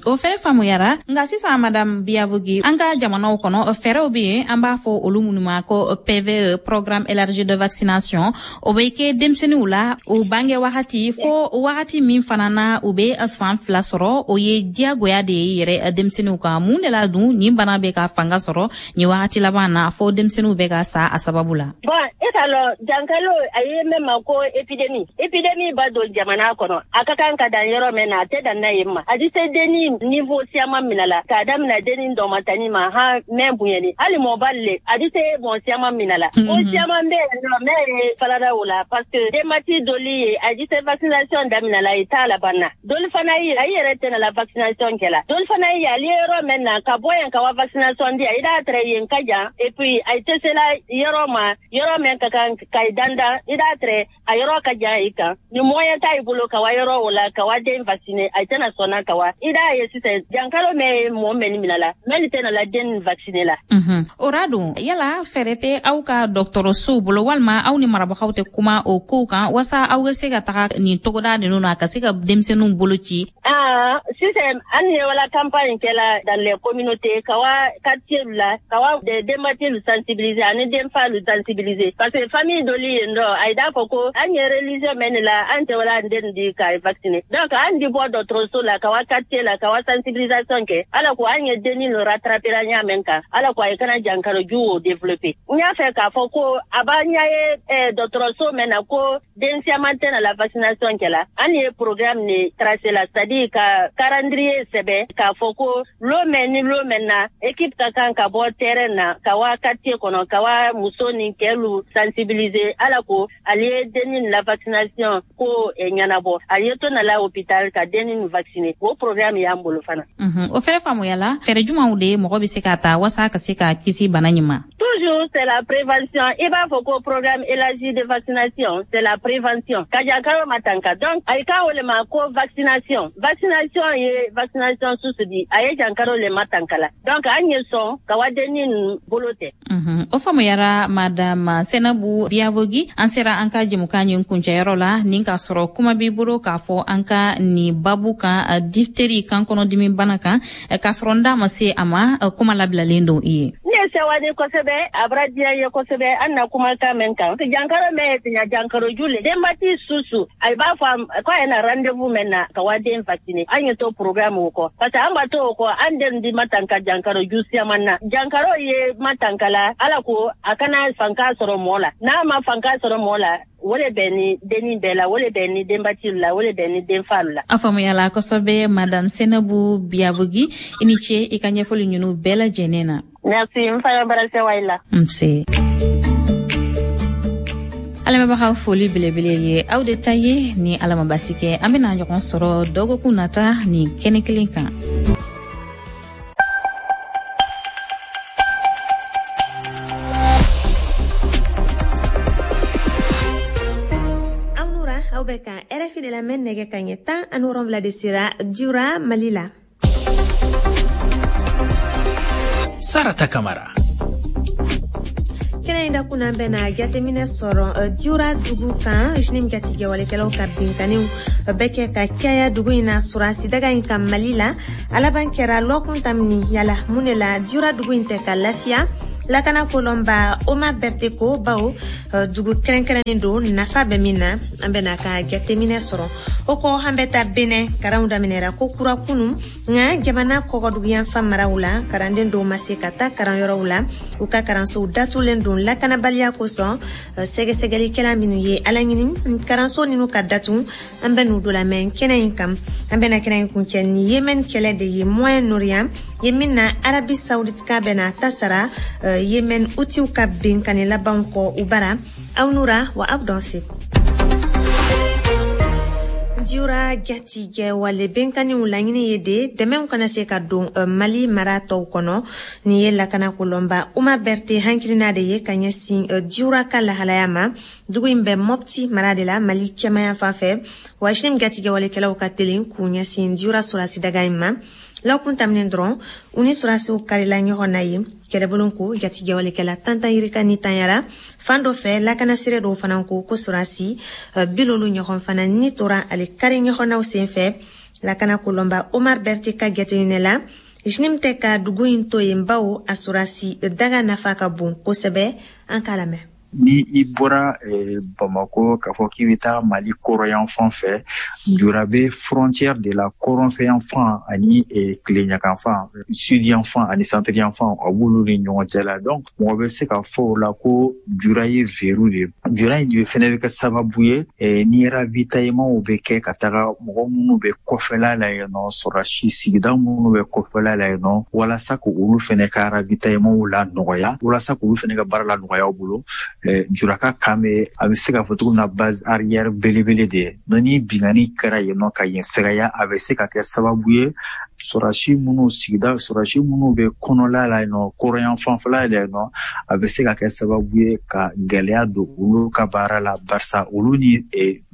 O fɛn faamuyara. Nka sisan, madame Biavogi, an ka jamanaw kɔnɔ, fɛɛrɛw be yen, an b'a fɔ olu minnu ma ko P V E, programme élargi de vaccination. O bɛ kɛ denmisɛnninw la u bange wagati fo wagati min fana na u bɛ san fila sɔrɔ. O ye diyagoya de ye yɛrɛ denmisɛnninw kan. Mun de la dun nin bana bɛ ka fanga sɔrɔ nin wagati laban na, fo denmisɛnninw bɛ ka sa a sababu la? Bon, e k'a lɔn, jankalo a ye mɛn ma ko épidémie, épidémie ba don jamana kɔnɔ, a ka kan ka dan yɔrɔ mɛn na, a tɛ dan n'a ye ma. A di se denni niveau siyaman mina la, k'a damina denni dɔmatani ma han mɛn bonyani, hali mɔbali le, a di se mɔɔ siyaman mina la. O siyaman bɛ yen nɔ mɛn ye falada o la, parce que denbati doli ye a di se vaccination damina la, i t'a laban na. Doli fana ye a yɛrɛ tɛna la vaccination kɛ la. Doli fana ye ale yɔrɔ mɛn na ka bɔ yen ka wa vaccination di, a i d'a tɛrɛ yen ka jan, et puis a tɛ se la yɔrɔ ma, yɔrɔ mɛn ka kan ka i dandan, i d'a tɛrɛ a yɔrɔ ka jan i kan, ni moyen t'a i bolo ka wa yɔrɔ o la ka wa den vacciner, a tɛna sɔnna ka wa. I d'a ye sisan, jankaro mɛn ye mɔɔ mɛnni mina la, mɛnni tɛna la den vacciner la. O ra dun, yala fɛɛrɛ tɛ aw ka dɔgɔtɔrɔsow bolo, walima aw ni marabagaw tɛ kuma o kow kan, wasa aw bɛ se ka taga nin togoda ninnu na ka se ka denmisɛnninw bolo ci? Ah, sisan an ye wala campagne kɛla dans les communautés, ka wa quartier la, ka wa de denbatilu sensibiliser ani denfalu sensibiliser, parce que famille doli yen dɔ, a ye d'a fɔ ko an ye religion mɛn la, an tɛ wala an den di ka vacciner. Donc an di bɔ dɔgɔtɔrɔso la ka wa quartier la ka wa sensibilisation kɛ, ala ko an ye denni no rattraper la ɲa mɛn kan, ala ko a ye kana jankaro ju o développer. N y'a fɛ k'a fɔ ko a b'a ɲa ye dɔgɔtɔrɔso mɛn na ko den siaman tɛ na la vaccination kɛ la, an ye programme ni tracé la, c'est à dire ka calendrier sɛbɛn k'a fɔ ko lo mɛn ni lo mɛn na, équipe ka kan ka bɔ terrain na ka wa quartier kɔnɔ ka wa muso ni kɛlu sensibiliser, ala ko ale ye denni la vaccination ko ɲɛnabɔ, ale ye to na la hôpital ka denni vacciner. O programme y'an bolo fana. O fɛrɛ faamuyala. Fɛɛrɛ jumanw de mɔgɔ bɛ se ka ta wasa ka se ka kisi bana ɲin ma? Toujours c'est la prévention. I b'a fɔ ko programme élargi de vaccination, c'est la prévention ka jankaro matanka. Donc a ye ka wele ma ko vaccination, vaccination ye vaccination susu di, a ye jankaro le matanka la. Donc an ye sɔn ka wa denni bolo tɛ. O faamuyara, madame Senabu Biavogi. An sera an ka jɛmukan ɲin kuncɛyɔrɔ la, nin k'a sɔrɔ kuma b'i bolo k'a fɔ an ka nin babu kan, diphtérie, kan kɔnɔdimi bana kan, k'a sɔrɔ n da ma se a ma, kuma labilalen don i ye. Ne ye sɛwani kosɛbɛ, a bara diya ye kosɛbɛ an na kumakan mɛn kan. Jankaro mɛn ye tiɲɛ jankaro ju le, denbati susu a b'a fɔ ko a ye na rendez-vous mɛn na ka wa den vacciner. An ye to programme o kɔ, parce que an b'a to o kɔ, an den di matanka jankaro ju siaman na. Jankaro ye matanka la, ala ko a kana fanka sɔrɔ mɔɔ la. N'a ma fanka sɔrɔ mɔɔ la, o le bɛ ni denni bɛɛ la, o le bɛ ni denbatiw la, o le bɛ ni denfalu la. A faamuyala kosɛbɛ, madame Senabu Biavogi. I ni ce i ka ɲɛfɔli ninnu bɛɛ lajɛlen na. Merci, n fana bara sewa i la. Nse. Alamɛbagaw, foli belebele ye aw de ta ye. Ni Ala ma basi kɛ, an bena ɲɔgɔn sɔrɔ dɔgɔkun nata nin kɛnɛ kelen kan. Aw bɛ kan R F I de lamɛn, nɛgɛ ka ɲɛ tan ani wolonwula de sera Dioura, Mali la. Sarata Kamara. Kɛnɛ in da kunna bɛna jateminɛ sɔrɔ Dioura dugu kan. JNIM jatigɛwalekɛlaw ka binkanniw bɛ kɛ ka caya dugu in na surasi daga in kan Mali la. A laban kɛra lɔkun tamini. Yala mun de la Dioura dugu in tɛ ka lafiya? Lakana kolonba Omar Berthe ko bawo dugu kɛrɛnkɛrɛnnen don, nafa bɛ min na, an bɛna ka jateminɛ sɔrɔ. O kɔ, an bɛ taa Benin. Karanw daminɛra ko kura kunu, nka jamana kɔgɔduguyanfan maraw la, karanden dɔw ma se ka taa karanyɔrɔw la. U ka karansow datugulen don lakanabaliya kosɔn. Sɛgɛsɛgɛlikɛla minnu ye ala ɲini karanso ninnu ka datugu, an bɛ n'u dɔ lamɛn kɛnɛ in kan. An bɛna kɛnɛ in kuncɛ ni Yemen kɛlɛ de ye Moyen-Orient ye, min na Arabie Saoudite ka bɛna ta sara Yemen utiw ka binkanni labanw kɔ u bara. Aw nura wa aw dɔn se. Dioura jatigɛwale bɛnkanniw laɲini ye de dɛmɛw kana se ka don Mali mara tɔw kɔnɔ. Nin ye lakana kolonba Omar Berthe hankilina de ye ka ɲɛsin Dioura ka lahalaya ma. Dugu in bɛ Mopti mara de la, Mali kɛmaya fan fɛ. Wa JNIM jatigɛwalekɛlaw ka teli k'u ɲɛsin Dioura surasi daga in ma. Lɔkun taminen dɔrɔn, u ni surasiw karila ɲɔgɔn na ye. Kɛlɛbolo ko jatigɛwalekɛla tantan yirika ni tanyara fan dɔ fɛ. Lakana sire dɔw fana ko ko surasi bilolu ɲɔgɔn fana ni tora ale kari ɲɔgɔnnaw sen fɛ. Lakana kolonba Omar Berthe ka jateminɛ la, JNIM tɛ ka dugu in to yen bawo a surasi daga nafa ka bon kosɛbɛ. An k'a lamɛn. Ni i bɔra eh, Bamako k'a fɔ k'i bɛ taa Mali kɔrɔyanfan fɛ, Dioura bɛ frontière de la kɔrɔnfɛyanfan ani eh, tileɲakanfan, sud yanfan ani centre yanfan, a b'olu ni ɲɔgɔn cɛ la. Donc mɔgɔ bɛ se ka fɔ o la ko Dioura ye verrou de ye. Dioura in de fɛnɛ bɛ kɛ sababu ye eh, ni ravitaillement bɛ kɛ ka taga mɔgɔ minnu bɛ kɔfɛla la yen nɔ, sɔrɔsi sigida minnu bɛ kɔfɛla la yen nɔ, walasa k'olu fɛnɛ ka ravitaillement la nɔgɔya, walasa k'olu fɛnɛ ka baara la nɔgɔya u bolo. Dioura ka kan bɛ, a bɛ se k'a fɔ cogo min na, base arrière belebele de ye. Ni binkanni kɛra yen nɔ ka yen fɛgɛya, a bɛ se ka kɛ sababu ye sɔrɔsi minnu sigida, sɔrɔsi minnu bɛ kɔnɔla la yen nɔ, kɔrɔyan fanfɛla la yen nɔ, a bɛ se ka kɛ sababu ye ka gɛlɛya don olu ka baara la, barisa olu ni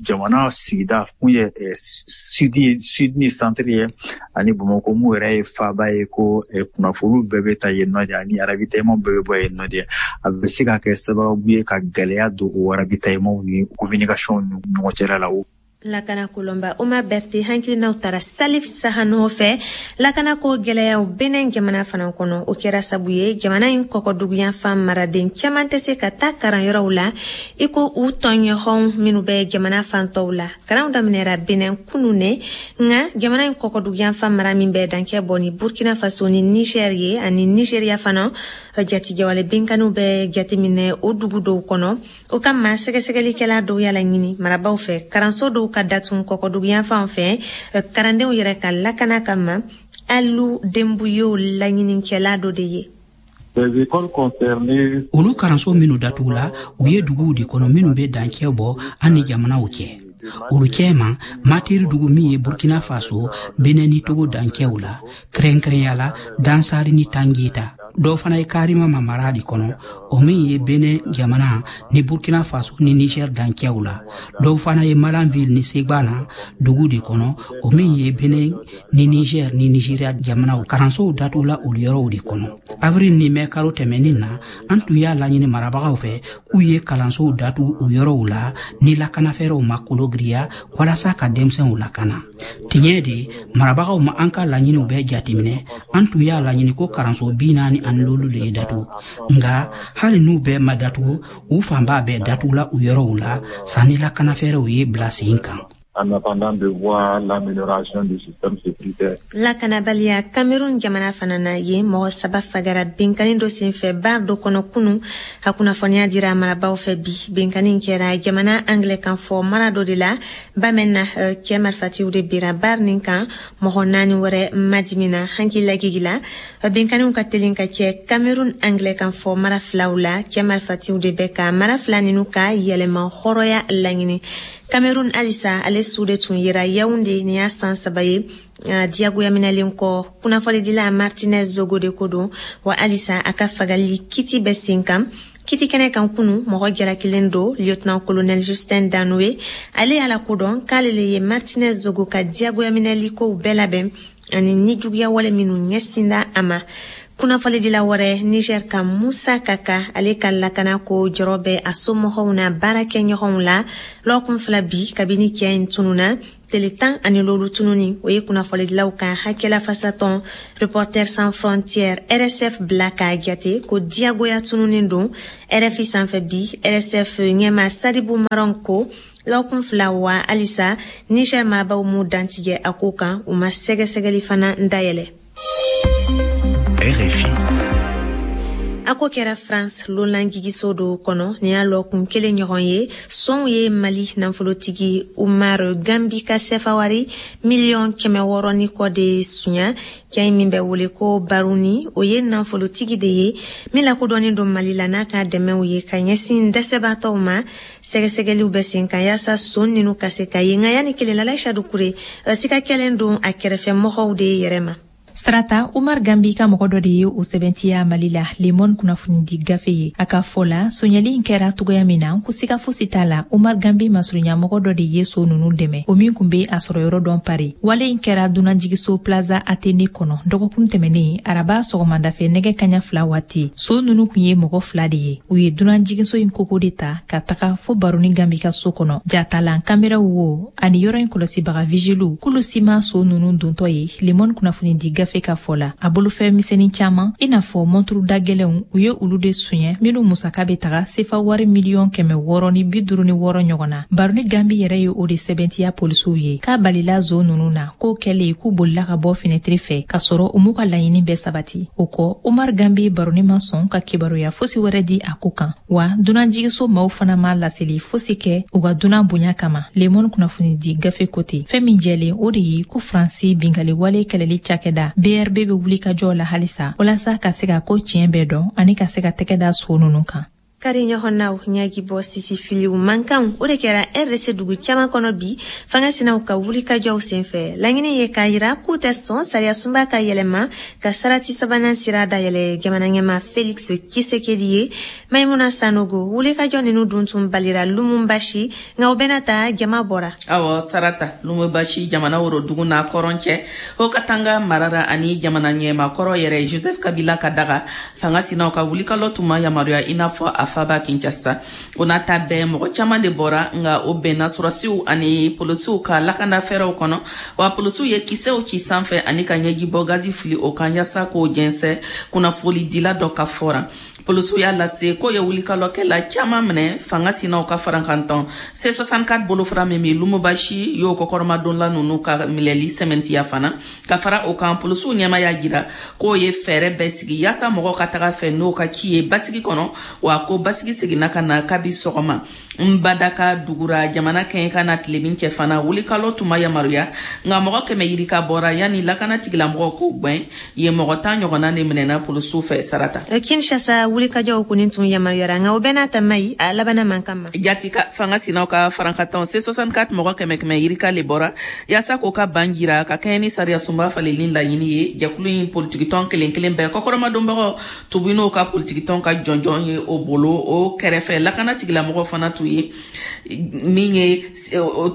jamana sigida kun ye sud sud ni centre ye ani Bamakɔ mun yɛrɛ ye faaba ye, ko kunnafoniw bɛɛ bɛ ta yen nɔ de, ani ravitaillement bɛɛ bɛ bɔ yen nɔ de. A bɛ se ka kɛ sababu ye ka gɛlɛya don o ravitaillement ni communication ni ɲɔgɔn cɛla la. Lakana kolonba Omar Berthe hankilinaw taara Salif Sahano fɛ. Lakana ko gɛlɛyaw Benin jamana fana kɔnɔ, o kɛra sabu ye jamana in kɔkɔduguyanfan maraden caman tɛ se ka taa karanyɔrɔw la i ko u tɔɲɔgɔnw minnu bɛ jamana fan tɔw la. Karanw daminɛra Benin kunu ne, nka jamana in kɔkɔduguyanfan mara min bɛ dankɛ bɔ ni Burkina Faso ni Niger ye ani Nigeria fana, jatigɛwale binkanniw bɛ jateminɛ o dugu dɔw kɔnɔ. O kama sɛgɛsɛgɛlikɛla dɔw y'a laɲini marabaw fɛ karanso dɔw ka datugu kɔkɔduguyanfanw fɛ karandenw yɛrɛ ka lakana kama. Alu Denbuyo laɲinikɛla dɔ de ye. Olu karanso minnu datugula, u ye duguw de kɔnɔ minnu bɛ dancɛ bɔ an ni jamanaw cɛ. Olu cɛma Materi dugu min ye Burkina Faso, Benin ni Togo dancɛw la, kɛrɛnkɛrɛnya la Dansari ni Tangita. Dɔw fana ye Karima mara de kɔnɔ, o min ye Benin jamana ni Burkina Faso ni Niger dancɛw la. Dɔw fana ye Malanville ni Segbana dugu de kɔnɔ, o min ye Benin ni Niger ni Nigeria jamanaw. Karansow datugula olu yɔrɔw de kɔnɔ. Avril ni mɛ kalo tɛmɛnin na, an tun y'a laɲini marabagaw fɛ k'u ye kalansow datugu o yɔrɔw la ni lakanafɛɛrɛw ma kologiriya walasa ka denmisɛnw lakana. Tiɲɛ de, marabagaw ma an ka laɲiniw bɛɛ jateminɛ. An tun y'a laɲini ko karanso bi naani ani lolu le ye datugu, nka hali n'u bɛɛ ma datugu, u fanba bɛɛ datugula u yɔrɔw la sanni lakanafɛɛrɛw ye bila sen kan. En attendant de voir l'amélioration du système sécuritaire. Lakanabaliya Cameroun jamana fana na, ye mɔgɔ saba fagara binkanni dɔ senfɛ bar dɔ kɔnɔ kunu. A kunnafoniya dira marabaw fɛ bi. Binkanni kɛra jamana anglais kan fɔ mara dɔ de la Bamena. Cɛ marifatiw de bira bar nin kan, mɔgɔ naani wɛrɛ madimina. Hankili lagigi la, binkanniw ka teli ka kɛ Cameroun anglais kan fɔ mara filaw la. Cɛ marifatiw de bɛ ka mara fila ninnu ka yɛlɛma hɔrɔnya laɲini. Cameroun halisa, ale su de tun yera Yaoundé nin y'a san saba ye diyagoya minɛlen kɔ. Kunnafonidila Martinez Zogo de ko don wa halisa a ka fagali kiti bɛ sen kan. Kiti kɛnɛ kan kunu mɔgɔ jalakilen do lieutenant colonel Justin Danoué ale y'a lakodɔn k'ale le ye Martinez Zogo ka diyagoyaminɛli kow bɛɛ labɛn ani nijuguya wale minnu ɲɛsinda a ma. Kunnafonidila wɛrɛ Niger ka Musa Kaka ale ka lakana ko jɔrɔ bɛ a somɔgɔw n'a baarakɛɲɔgɔnw la lɔgɔkun fila bi kabini cɛ in tununa tele tan ani lolu tununi o ye kunnafonidilaw ka hakɛlafasatɔn Reporters sans frontières R S F bila k'a jate ko diyagoya tununin don. R F I sanfɛ bi R S F ɲɛma Sadibu Maron ko lɔgɔkun fila wa halisa Niger marabaw m'u dantigɛ a ko kan, u ma sɛgɛsɛgɛli fana dayɛlɛ. R F I. A ko kɛra France lonlanjigiso dɔ kɔnɔ nin y'a lɔkun kelen ɲɔgɔn ye sɔnw ye Mali nafolotigi Umar Gambi ka sɛfawari miliyɔn kɛmɛ wɔɔrɔ ni kɔ de sunya. Cɛ min bɛ wele ko Baruni o ye nafolotigi de ye min lakodɔnnen don Mali la n'a ka dɛmɛw ye ka ɲɛsin dɛsɛbaatɔw ma. Sɛgɛsɛgɛliw bɛ sen kan yaasa son ninnu ka se ka ye, nka yanni kelen la Aïcha Doucouré sika kɛlen don a kɛrɛfɛ mɔgɔw de yɛrɛ ma. Sarata, Umar Gambi ka mɔgɔ dɔ de ye o sɛbɛntiya Mali la Le Monde kunnafonidi gafe ye. A ka fɔ la, sonyali in kɛra togoya min na ko siga fosi t'a la, Umar Gambi masurunya mɔgɔ dɔ de ye so nunu dɛmɛ, o min kun be a sɔrɔ yɔrɔ dɔn Paris. Wale in kɛra dunanjigiso Plaza Athénée kɔnɔ dɔgɔkun tɛmɛnen araba sɔgɔmadafɛ nɛgɛ kaɲa fila waati. So nunu kun ye mɔgɔ fila de ye. U ye dunanjigiso in koko de ta ka taga fo Baroni Gambi ka so kɔnɔ. Jatalan kameraw wo ani yɔrɔ in kɔlɔsibaga vigiliw k'olu si ma so nunu dontɔ ye. Le Monde kunnafonidi gafe ka fɔ la, a bolofɛn misɛnnin caman i n'a fɔ mɔnturu da gɛlɛnw u ye olu de suɲɛ minnu musaka bɛ taga sefa wari miliyɔn kɛmɛ wɔɔrɔ ni bi duuru ni wɔɔrɔ ɲɔgɔn na. Baroni Gambi yɛrɛ ye o de sɛbɛntiya polisiw ye k'a balila zo ninnu na k'o kɛlen k'u bolila ka bɔ fenɛtiri fɛ k'a sɔrɔ u m'u ka laɲini bɛɛ sabati. O kɔ, Umar Gambi Baroni ma sɔn ka kibaruya fosi wɛrɛ di a ko kan, wa dunanjigiso maaw fana ma laseli fosi kɛ u ka dunan bonya kama. Le Monde kunnafonidi gafe ko ten. Fɛn min jɛlen o de ye ko Faransi binkaliwale kɛlɛli cakɛda B R B bɛ wuli ka jɔ la halisa walasa ka se ka ko tiɲɛ bɛɛ dɔn ani ka se ka tɛgɛ da so ninnu kan. Kari ɲɔgɔnnaw ɲɛji bɔ sisi filiw mankanw o de kɛra R D C dugu caman kɔnɔ bi fanga sinaw ka wulikajɔw senfɛ. Laɲini ye k'a yira k'u tɛ sɔn sariya sunba ka yɛlɛma ka sarati sabanan sira dayɛlɛ jamana ɲɛma Felix Tshisekedi ye. Maimuna Sanogo, wulikajɔ ninnu dun tun balira Lumumbashi, nka o bɛna ta jama bɔra. Awɔ, Sarata, Lumumbashi jamana worodugu n'a kɔrɔn cɛ o Katanga marara ani jamana ɲɛma kɔrɔ yɛrɛ Joseph Kabila ka daga fanga sinaw ka wulikalɔ tun ma yamaruya i n'a fɔ a faba Kinshasa. O n'a ta bɛɛ mɔgɔ caman de bɔra, nka o bɛnna sɔrɔsiw ani polisiw ka lakana fɛɛrɛw kɔnɔ, wa polisiw ye kisɛw ci sanfɛ ani ka ɲɛjibɔ gazi fili o kan yaasa k'o jɛnsɛn. Kunnafonidila dɔ ka fɔra polisiw y'a lase k'o ye wulikalɔkɛla caman minɛ fanga sinaw ka farankantɔn C soixante-quatre bolofara min bɛ Lumumbashi y'o kɔkɔrɔmadonla ninnu ka minɛli sɛmɛntiya fana. Ka fara o kan, polisiw ɲɛma y'a jira k'o ye fɛɛrɛ bɛɛ sigi yaasa mɔgɔw ka taga fɛ n'o ka ci ye basigi kɔnɔ, wa ko basigi seginna ka na kabi sɔgɔma. Nbadaka dugura jamana kɛɲɛ ka na tilebin cɛ fana wulikalɔ tun ma yamaruya, nka mɔgɔ kɛmɛ yirika bɔra yanni lakana tigilamɔgɔw k'o gwɛn yen mɔgɔ tan ɲɔgɔnna de minɛna polisiw fɛ. Sarata, Kinshasa wulikajɔw kɔni tun yamaruyara, nka o bɛɛ n'a ta mayi a labanna mankan ma. Jati ka fanga sinaw ka farankatɔn C soixante-quatre mɔgɔ kɛmɛ kɛmɛ yirika le bɔra yaasa k'o ka ban jira ka kɛɲɛ ni sariya sunba falenni laɲini ye. Jɛkulu in politikitɔn kelen kelen bɛɛ kɔkɔrɔmadonbagaw tubu n'o ka politikitɔn ka jɔnjɔn ye o bolo. O kɛrɛfɛ lakana tigilamɔgɔ fana tun ye min ye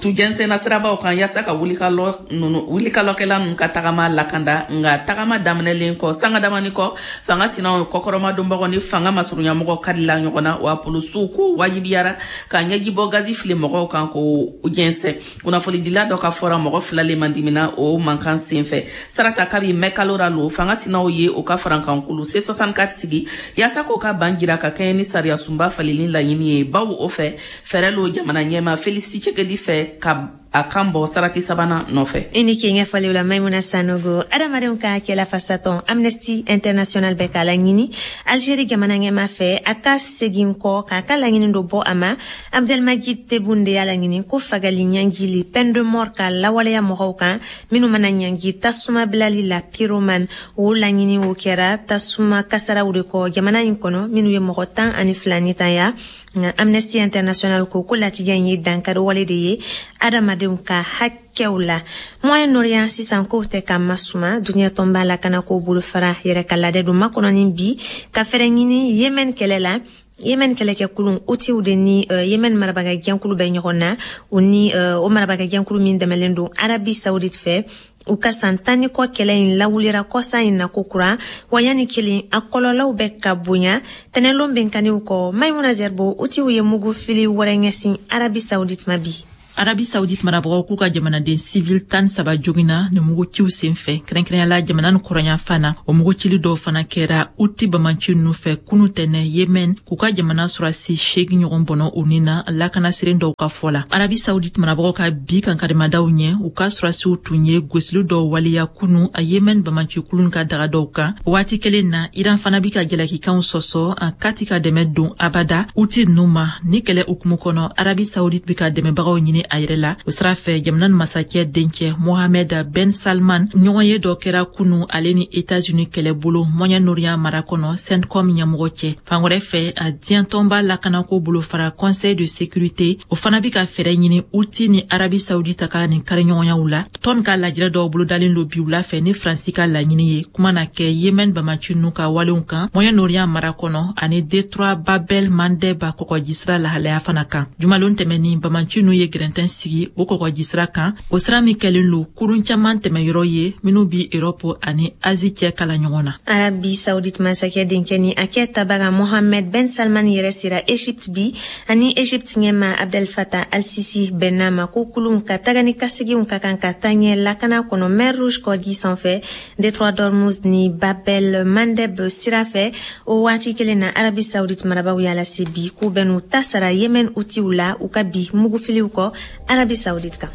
tu jɛnsɛnna sirabaw kan yaasa ka wulikalɔ ninnu wulikalɔkɛla ninnu ka tagama lakanda. Nka tagama daminɛlen kɔ sanga damani kɔ fanga sinaw kɔkɔrɔmadonbagaw ni fanga masurunyamɔgɔw karila ɲɔgɔn na, wa polisiw ko wajibiyara ka ɲɛjibɔ gazi fili mɔgɔw kan k'o jɛnsɛn. Kunnafonidila dɔ ka fɔra mɔgɔ fila le mandimina o mankan senfɛ. Sarata, kabi mɛkalo ra lo fanga sinaw ye o ka farankankulu C soixante-quatre sigi yaasa k'o ka ban jira ka kɛɲɛ ni sariya sunba falenni laɲini ye, bawo o fɛ fɛɛrɛ lo jamana ɲɛma Felix Tshisekedi fɛ ka a kan bɔ sarati sabanan nɔfɛ. I ni ke ɲɛfɔliw la Maimuna Sanogo. Adamadenw ka hakɛ lafasatɔn Amnesty International bɛ k'a laɲini Algérie jamana ɲɛma fɛ a ka segin kɔ k'a ka laɲini dɔ bɔ a ma. Abdelmadjid Tebboune de y'a laɲini ko fagali ɲangili peine de mort ka lawaleya mɔgɔw kan minnu mana ɲangi tasuma bilali la pyromane. O laɲini o kɛra tasuma kasaraw de kɔ jamana in kɔnɔ minnu ye mɔgɔ tan ani fila ni tanya. Nka Amnesty International ko ko latigɛ in ye dankari wale de ye adamadenw ka hakɛw la. Moyen-Orient sisan kow tɛ ka masuma duniya tɔnba lakana ko bolofara yɛrɛ ka ladɛ don makɔnɔni bi ka fɛɛrɛ ɲini Yemen kɛlɛ la. Yemen kɛlɛkɛkulu Houthis de ni uh, Yemen marabaga jɛnkulu bɛ ɲɔgɔn na, u ni uh, o marabaga jɛnkulu min dɛmɛlen don Arabie Saoudite fɛ. U ka san tan ni kɔ kɛlɛ in lawulira kɔsa in na kokura, wa yanni kelen a kɔlɔlɔw bɛ ka bonya. Tɛnɛlon bɛnkanniw kɔ, Maimuna Zerbo, Houthis ye mugu fili wɛrɛ ɲɛsin Arabie Saoudite ma bi. Arabie Saoudite marabagaw k'u ka jamanaden civil tan saba jogina ni muguciw senfɛ, kɛrɛnkɛrɛnyala jamana ni kɔrɔnyanfan na. O mugucili dɔw fana kɛra Houthi bamanci ninnu fɛ kunu tɛnɛ Yemen, k'u ka jamana sɔrɔdasi seegin ɲɔgɔn bɔnɔ u ni na, lakanasiren dɔw ka fɔ la. Arabie Saoudite marabagaw ka bi kankarimadaw ɲɛ, u ka sɔrɔdasiw tun ye gosili dɔw waleya kunu a Yemen bamanci kulun ka daga dɔw kan. Waati kelen na, Iran fana bi ka jalakikanw sɔsɔ a kati ka dɛmɛ don abada Houthi ninnu ma. Ni kɛlɛ hukumu kɔnɔ, Arabie Saoudite bi ka dɛmɛbagaw ɲini a yɛrɛ la. O sira fɛ, jamana ni masakɛ dencɛ Mohamed Ben Salman ɲɔgɔn ye dɔ kɛra kunu ale ni États-Unis kɛlɛbolo Moyen-Orient mara kɔnɔ CENTCOM ɲɛmɔgɔ cɛ. Fan wɛrɛ fɛ, a diɲɛ tɔnba lakanako bolofara Conseil de sécurité, o fana bi ka fɛɛrɛ ɲini Houthi ni Arabie Saoudite ka nin kariɲɔgɔnyaw la. Tɔn ka lajɛrɛ dɔw bolodalen don bi wula fɛ ni Faransi ka laɲini ye. Kuma na kɛ Yemen bamaci ninnu ka walenw kan Moyen-Orient mara kɔnɔ ani détroit Babel Mandeb kɔgɔjisira lahalaya fana kan. Jumalon tɛmɛnin, bamaci ninnu ye gɛrɛntɛn sigi o kɔgɔjisira kan, o sira min kɛlen don kurun caman tɛmɛyɔrɔ ye minnu bi Europe ani Asie cɛ kala ɲɔgɔn na. Arabie Saoudite masakɛ denkɛ ni a kɛ tabaga Mohamed Ben Salman yɛrɛ sera Egypte bi, ani Egypte ɲɛma Abdel Fattah al-Sisi bɛnna ma ko kulun ka taga ni kaseginw ka kan ka taa ɲɛ lakana kɔnɔ Mer Rouge kɔji sanfɛ, détroit d'Ormuz ni Babel Mandeb sira fɛ. O waati kelen na, Arabie Saoudite marabaw y'a lase bi k'u bɛn'u ta sara Yemen Houthis la u ka bi mugufiliw kɔ Arabie Saoudite kan.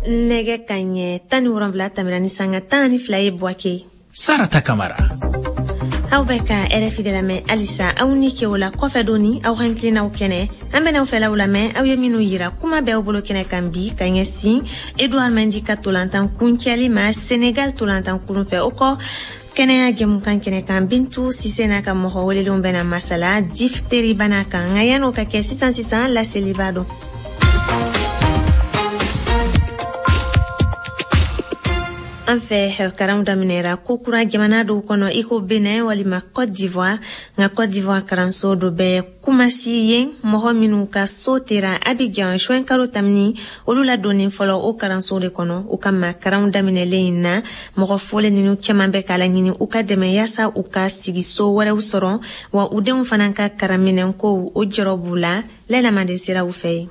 Nɛgɛ ka ɲɛ tan ni wolonwula tɛmɛna ni sanga tan ni fila ye Buwake. Sarata Kamara. Aw bɛ ka R F I de lamɛn halisa. Aw ni ke o la kɔfɛ doni aw hakilinaw kɛnɛ, an bɛn'aw fɛlaw lamɛn aw ye minnu yira kuma bɛɛ aw bolo kɛnɛ kan bi ka ɲɛsin Edouard Mendy ka tolantan kuncɛli ma Senegal tolantan kurun fɛ. O kɔ, kɛnɛya jɛmukan kɛnɛ kan, Bintu Sise n'a ka mɔgɔ welelenw bɛna masala diphtérie bana kan. Nka yan'o ka kɛ, sisan sisan laseliba don. An fɛ, karanw daminɛra kokura jamana dɔw kɔnɔ i ko Benin walima Côte d'Ivoire. Nka Côte d'Ivoire karanso dɔ bɛ Kumasi, yen mɔgɔ minnu ka so tera Abidjan juin kalo tamini, olu ladonnen fɔlɔ o karanso de kɔnɔ. O kama, karanw daminɛlen in na, mɔgɔ fɔlen ninnu caman bɛ k'a laɲini u ka dɛmɛ yaasa u ka sigiso wɛrɛw sɔrɔ, wa u denw fana ka karanminɛnkow o jɔrɔ b'u la. Lɛlama de sera u fɛ yen.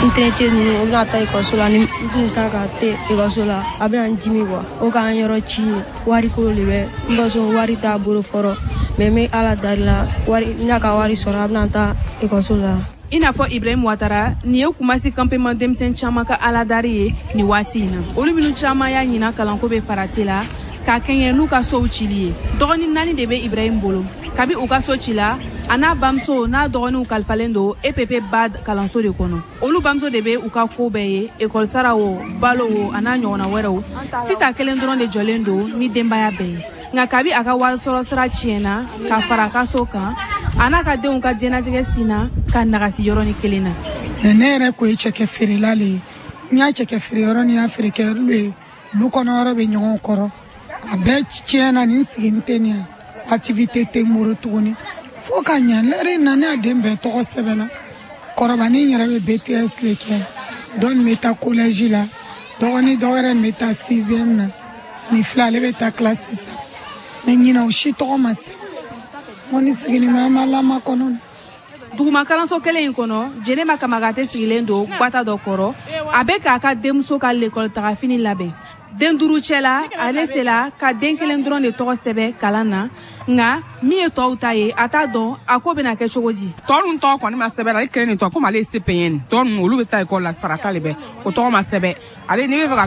N terikɛ ninnu, u bɛna taa ekɔliso la, ni n tun sera ka te ekɔliso la, a bɛna n dimi kuwa. O k'an yɔrɔ ci wariko de bɛ n baso, wari t'a bolo fɔlɔ, mɛ n bɛ Ala dari la, wari n'a ka wari sɔrɔ, a bɛna taa ekɔliso la. I n'a fɔ Ibrahim Ouattara, nin ye Kumasi campement denmisɛn caman ka aladari ye nin waati in na. Olu minnu caman y'a ɲina kalanko bɛ farati la k'a kɛɲɛ n'u ka sow cili ye. Dɔgɔnin naani de bɛ Ibrahim bolo. Kabi u ka so ci la, a n'a bamuso n'a dɔgɔninw kalifalen don E P P B A D kalanso de kɔnɔ. Olu bamuso de bɛ u ka ko bɛɛ ye, ekɔli sara o, balo o, a n'a ɲɔgɔnna wɛrɛw. Sita kelen dɔrɔn de jɔlen don ni denbaya bɛɛ ye. Nka kabi a ka wari sɔrɔ sira tiɲɛna ka fara a ka so kan, a n'a ka denw ka diɲɛnatigɛ sinna ka nagasi yɔrɔnin kelen na. Ne yɛrɛ ko ye cɛkɛ feerela le ye. N y'a cɛkɛ feere yɔrɔ ni y'a feere kɛ ye, lu kɔnɔ yɔrɔ bɛ ɲɔgɔn kɔrɔ. A bɛɛ tiɲɛna, ni sigi tɛ nin activité tɛ n bolo tuguni. Fo ka ɲɛ lɛri na, ne y'a den bɛɛ tɔgɔ sɛbɛn la. Kɔrɔbanin yɛrɛ bɛ B T S le kɛ, dɔ nin bɛ taa collège la, dɔgɔnin dɔ wɛrɛ nin bɛ taa sixième na, nin fila ale bɛ taa classe sisan. Mɛ ɲinɛ o si tɔgɔ ma sɛbɛn. N ko ni sigini ma, an b'a lamakɔnɔ. Duguma kalanso kelen in kɔnɔ, Jɛnɛba Kamagate sigilen don gbata dɔ kɔrɔ. A bɛ k'a ka denmuso ka lekɔli tagafini labɛn. Den duuru cɛla, ale sela ka den kelen dɔrɔn de tɔgɔ sɛbɛn kalan na. Nka min ye tɔw ta ye, a t'a dɔn a ko bɛna kɛ cogo di. Tɔ ninnu tɔgɔ kɔni ma sɛbɛn, ale kelen nin tɔgɔ, komi ale ye C P N. Tɔ ninnu olu bɛ taa ekɔli la, sarata de bɛ o tɔgɔ ma sɛbɛn. Ale n'i bɛ fɛ ka